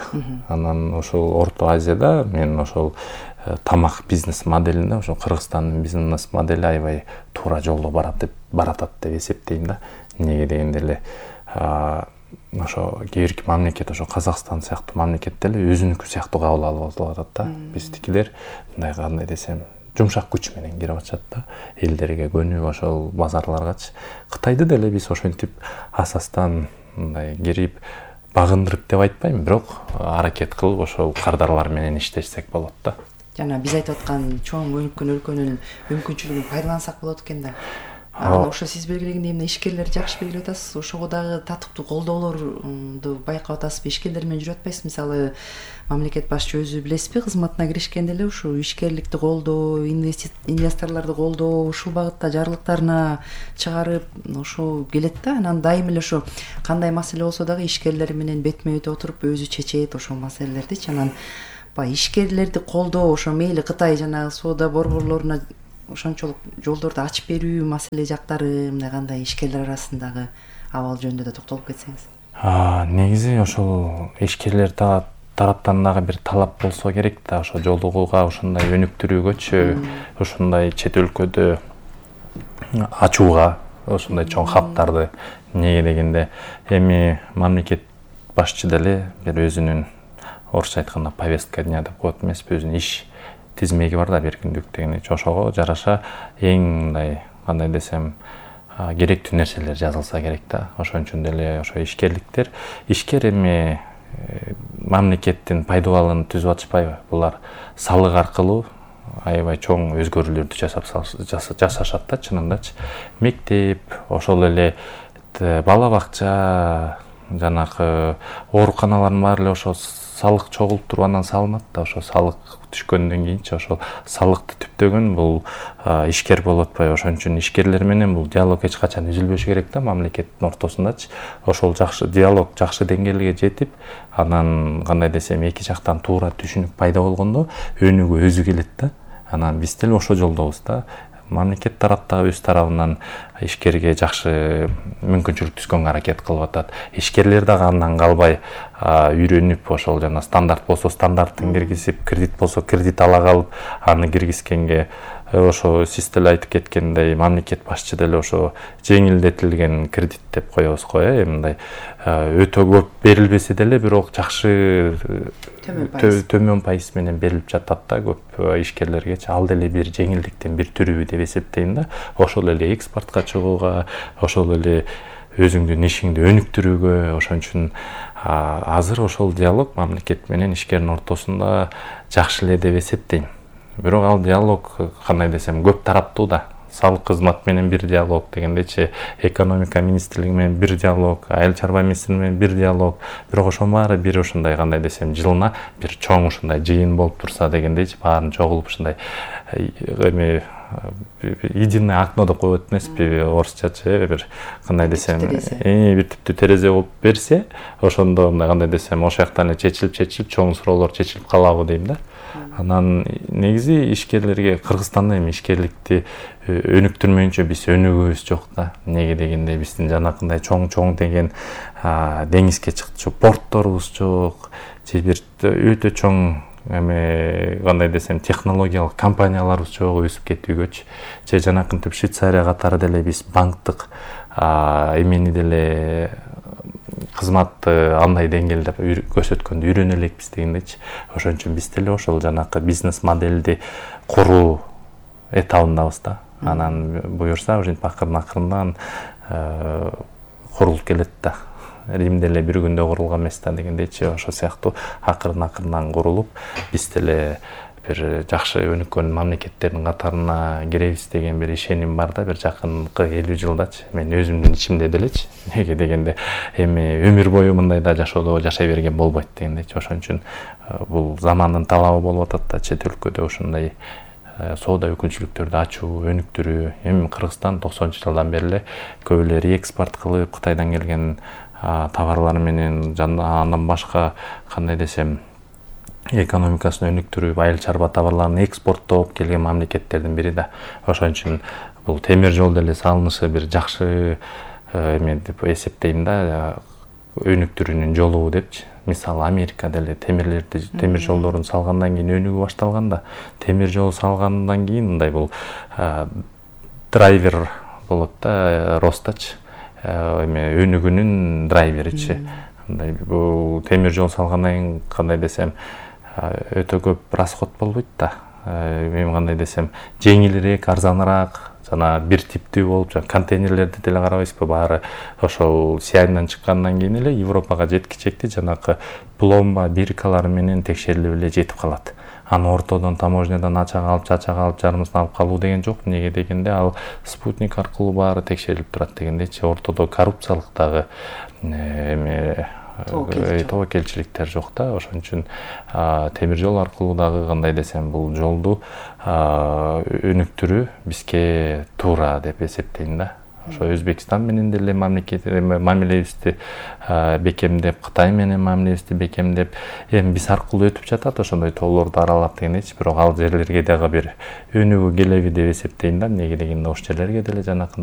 Анан ошол Орто Азияда мен ошол тамак бизнес моделинде ошо Кыргызстандын бизнес модели аябай туура жолдо баратат деп эсептейм да. Эмнеге дегенде эле ошо кээ бирки мамлекет, ошо Казакстан сыяктуу мамлекет деле өзүнүкү сыяктуу кабыл алып атат да. Биздикилер мындай кандай десем жумшак күч менен кирип атышат да. Элдерге көнүп ошол базарларгачы. Кытайды деле биз ошентип асастан мындай кирип багындырып деп айтпайм, бирок аракет кылып ошол кардарлар менен иштешсек болот да. Жана биз айтып аткан чоң өнүккөн өлкөнүн мүмкүнчүлүгүн пайдалансак болот экен да. Ошо сиз белгилегендей эмне ишкерлерди жакшы белгилеп атасыз. Ошого дагы татыктуу колдоолорду байкап атасызбы? Ишкерлер менен жүрүп атпайсызбы? Мисалы, мамлекет башчы өзү билесизби, кызматына киришкенде эле ушу ишкерликти колдоо, инвесторлорду колдоо, ушул багытта жарлыктарына чыгарып, ошо келет да. Анан дайым эле ошо кандай маселе болсо дагы ишкерлер менен бетме бет отуруп өзү чечет ошол маселелердичи. Анан баягы ишкерлерди колдоо, ошо мейли Кытай жанагы соода борборлоруна ошончолук жолдорду ачып берүү маселе жактары, мындай кандай ишкерлер арасындагы абал жөнүндө да токтолуп кетсеңиз. Негизи ошол ишкерлер тараптан дагы бир талап болсо керек да, ошо жолугууга ушундай өнүктүрүүгөчү, ушундай чет өлкөдө ачууга, ушундай чоң хабтарды. Неге дегенде, эми мамлекет башчы деле бир өзүнүн орусча айтканда повестка дня деп коет эмеспи, өзүнүн иш тизмеги бар да, бир күндүк дегенде. Ошого жараша эң мындай кандай десем керектүү нерселер жазылса керек да. Ошон үчүн деле ошо ишкер эми мамлекеттин пайдубалын түзүп атышпайбы? Булар салык аркылуу аябай чоң өзгөрүүлөрдү жасашат да, чынындачы. Мектеп, ошол эле бала бакча, жанагы ооруканалардын баары эле ошо салык чогулуп туруп анан салынат да. Ошо салык түшкөндөн кийинчи ошол салыкты түптөгөн бул ишкер болуп атпайбы? Ошон үчүн ишкерлер менен бул диалог эч качан үзүлбөшү керек да, мамлекеттин ортосундачы. Ошол жакшы диалог жакшы деңгээлге жетип, анан кандай десем эки жактан туура түшүнүк пайда болгондо өнүгүү өзү келет да. Анан биз деле ошол жолдобуз да. Мамлекет тараптагы өз тарабынан ишкерге жакшы мүмкүнчүлүк түзгөнгө аракет кылып атат. Ишкерлер дагы андан калбай үйрөнүп, ошол жана стандарт болсо стандарттын киргизип, кредит болсо кредит ала калып, аны киргизгенге ошо сиз деле айтып кеткендей мамлекет башчы деле ошо жеңилдетилген кредит деп коебуз го, мындай өтө көп берилбесе деле бирок жакшы төмөн пайыз менен берилип жатат да көп ишкерлергечи. Ал деле бир жеңилдиктин бир түрү деп эсептейм да. Ошол эле экспортко чыгууга, ошол эле өзүңдүн ишиңди өнүктүрүүгө. Ошон үчүн азыр ошол диалог мамлекет менен ишкердин ортосунда жакшы эле деп эсептейм. Бирок ал диалог кандай десем көп тараптуу да. Салык кызмат менен бир диалог дегендечи, экономика министрлиги менен бир диалог, айыл чарба министрлиги менен бир диалог. Бирок ошонун баары бир ушундай кандай десем жылына бир чоң ушундай жыйын болуп турса дегендечи, баарын чогулуп ушундай эми единое окно деп коет эмеспи орусчачы, бир кандай десем бир типтүү терезе болуп берсе, ошондо мындай кандай десем ошол жактан эле чечилип чоң суроолор чечилип калабы дейм да. Анан негизи ишкерлерге Кыргызстанда эми ишкерликти өнүктүрмөйүнчө биз өнүгүүбүз жок да. Неге дегенде биздин жанакындай чоң деген деңизге чыкчу портторубуз жок, же бир өтө чоң эми кандай десем технологиялык компанияларыбыз жок өсүп кетүүгөчү. Же жанакынтип Швейцария катары деле биз банктык эмени деле кызматты андай деңгээлде көрсөткөндө үйрөнө элекпиз дегендечи. Ошон үчүн биз деле ошол жанакы бизнес моделди куруу этабындабыз да. Анан буюрса ушинтип акырын-акырындан курулуп келет да. Римде эле бир күндө курулган эмес да дегендечи. Ошол сыяктуу акырын-акырындан курулуп, биз деле бир жакшы өнүккөн мамлекеттердин катарына киребиз деген бир ишеним бар да, бир жакынкы 50 жылдачы. Мен өзүмдүн ичимде делечи. Неге дегенде эми өмүр бою мындайда жашоодо жашай берген болбойт дегендечи. Ошон үчүн бул замандын талабы болуп атат да, чет өлкөдө ушундай соода өкүлчүлүктөрдү ачуу, өнүктүрүү. Эми Кыргызстан 90-жылдан бери эле көп эле реэкспорт кылып, Кытайдан келген товарлар менен андан башка кандай десем экономикасын өнүктүрүп, айыл чарба товарларын экспорттоп келген мамлекеттердин бири да. Ошон үчүн бул темир жол деле салынышы бир жакшы эме деп эсептейм да, өнүктүрүүнүн жолу депчи. Мисалы Америка деле темир жолдорун салгандан кийин өнүгүү башталган да. Темир жол салгандан кийин мындай бул драйвер болот да, ростачы. эме өнүгүүнүн драйверичи. Мындай бул темир жол салгандан кийин кандай десем өтө көп расход болбойт да. Эми кандай десем жеңилирээк, арзаныраак, жана бир типтүү болуп, контейнерлерди деле карабайсызбы, баары ошол Сиайндан чыккандан кийин эле Европага жеткичекти жанакы пломба биркалары менен текшерилип эле жетип калат. Аны ортодон таможнядан ачак алып жарымысын алып калуу деген жок. Неге дегенде ал спутник аркылуу баары текшерилип турат дегендейчи. Ортодо коррупциялык дагы эме тобокелчиликтер жок да. Ошон үчүн темир жол аркылуу дагы кандай десем бул жолду өнүктүрүү бизге туура деп эсептейм да. Ошо Өзбекстан менен деле мамилебизди бекемдеп, Кытай менен мамилебизди бекемдеп, эми биз аркылуу өтүп жатат, ошондой тоолорду аралап дегендейчи. Бирок ал жерлерге дагы бир өнүгүү келеби деп эсептейм да. Неге дегенде ош жерлерге деле жанакындай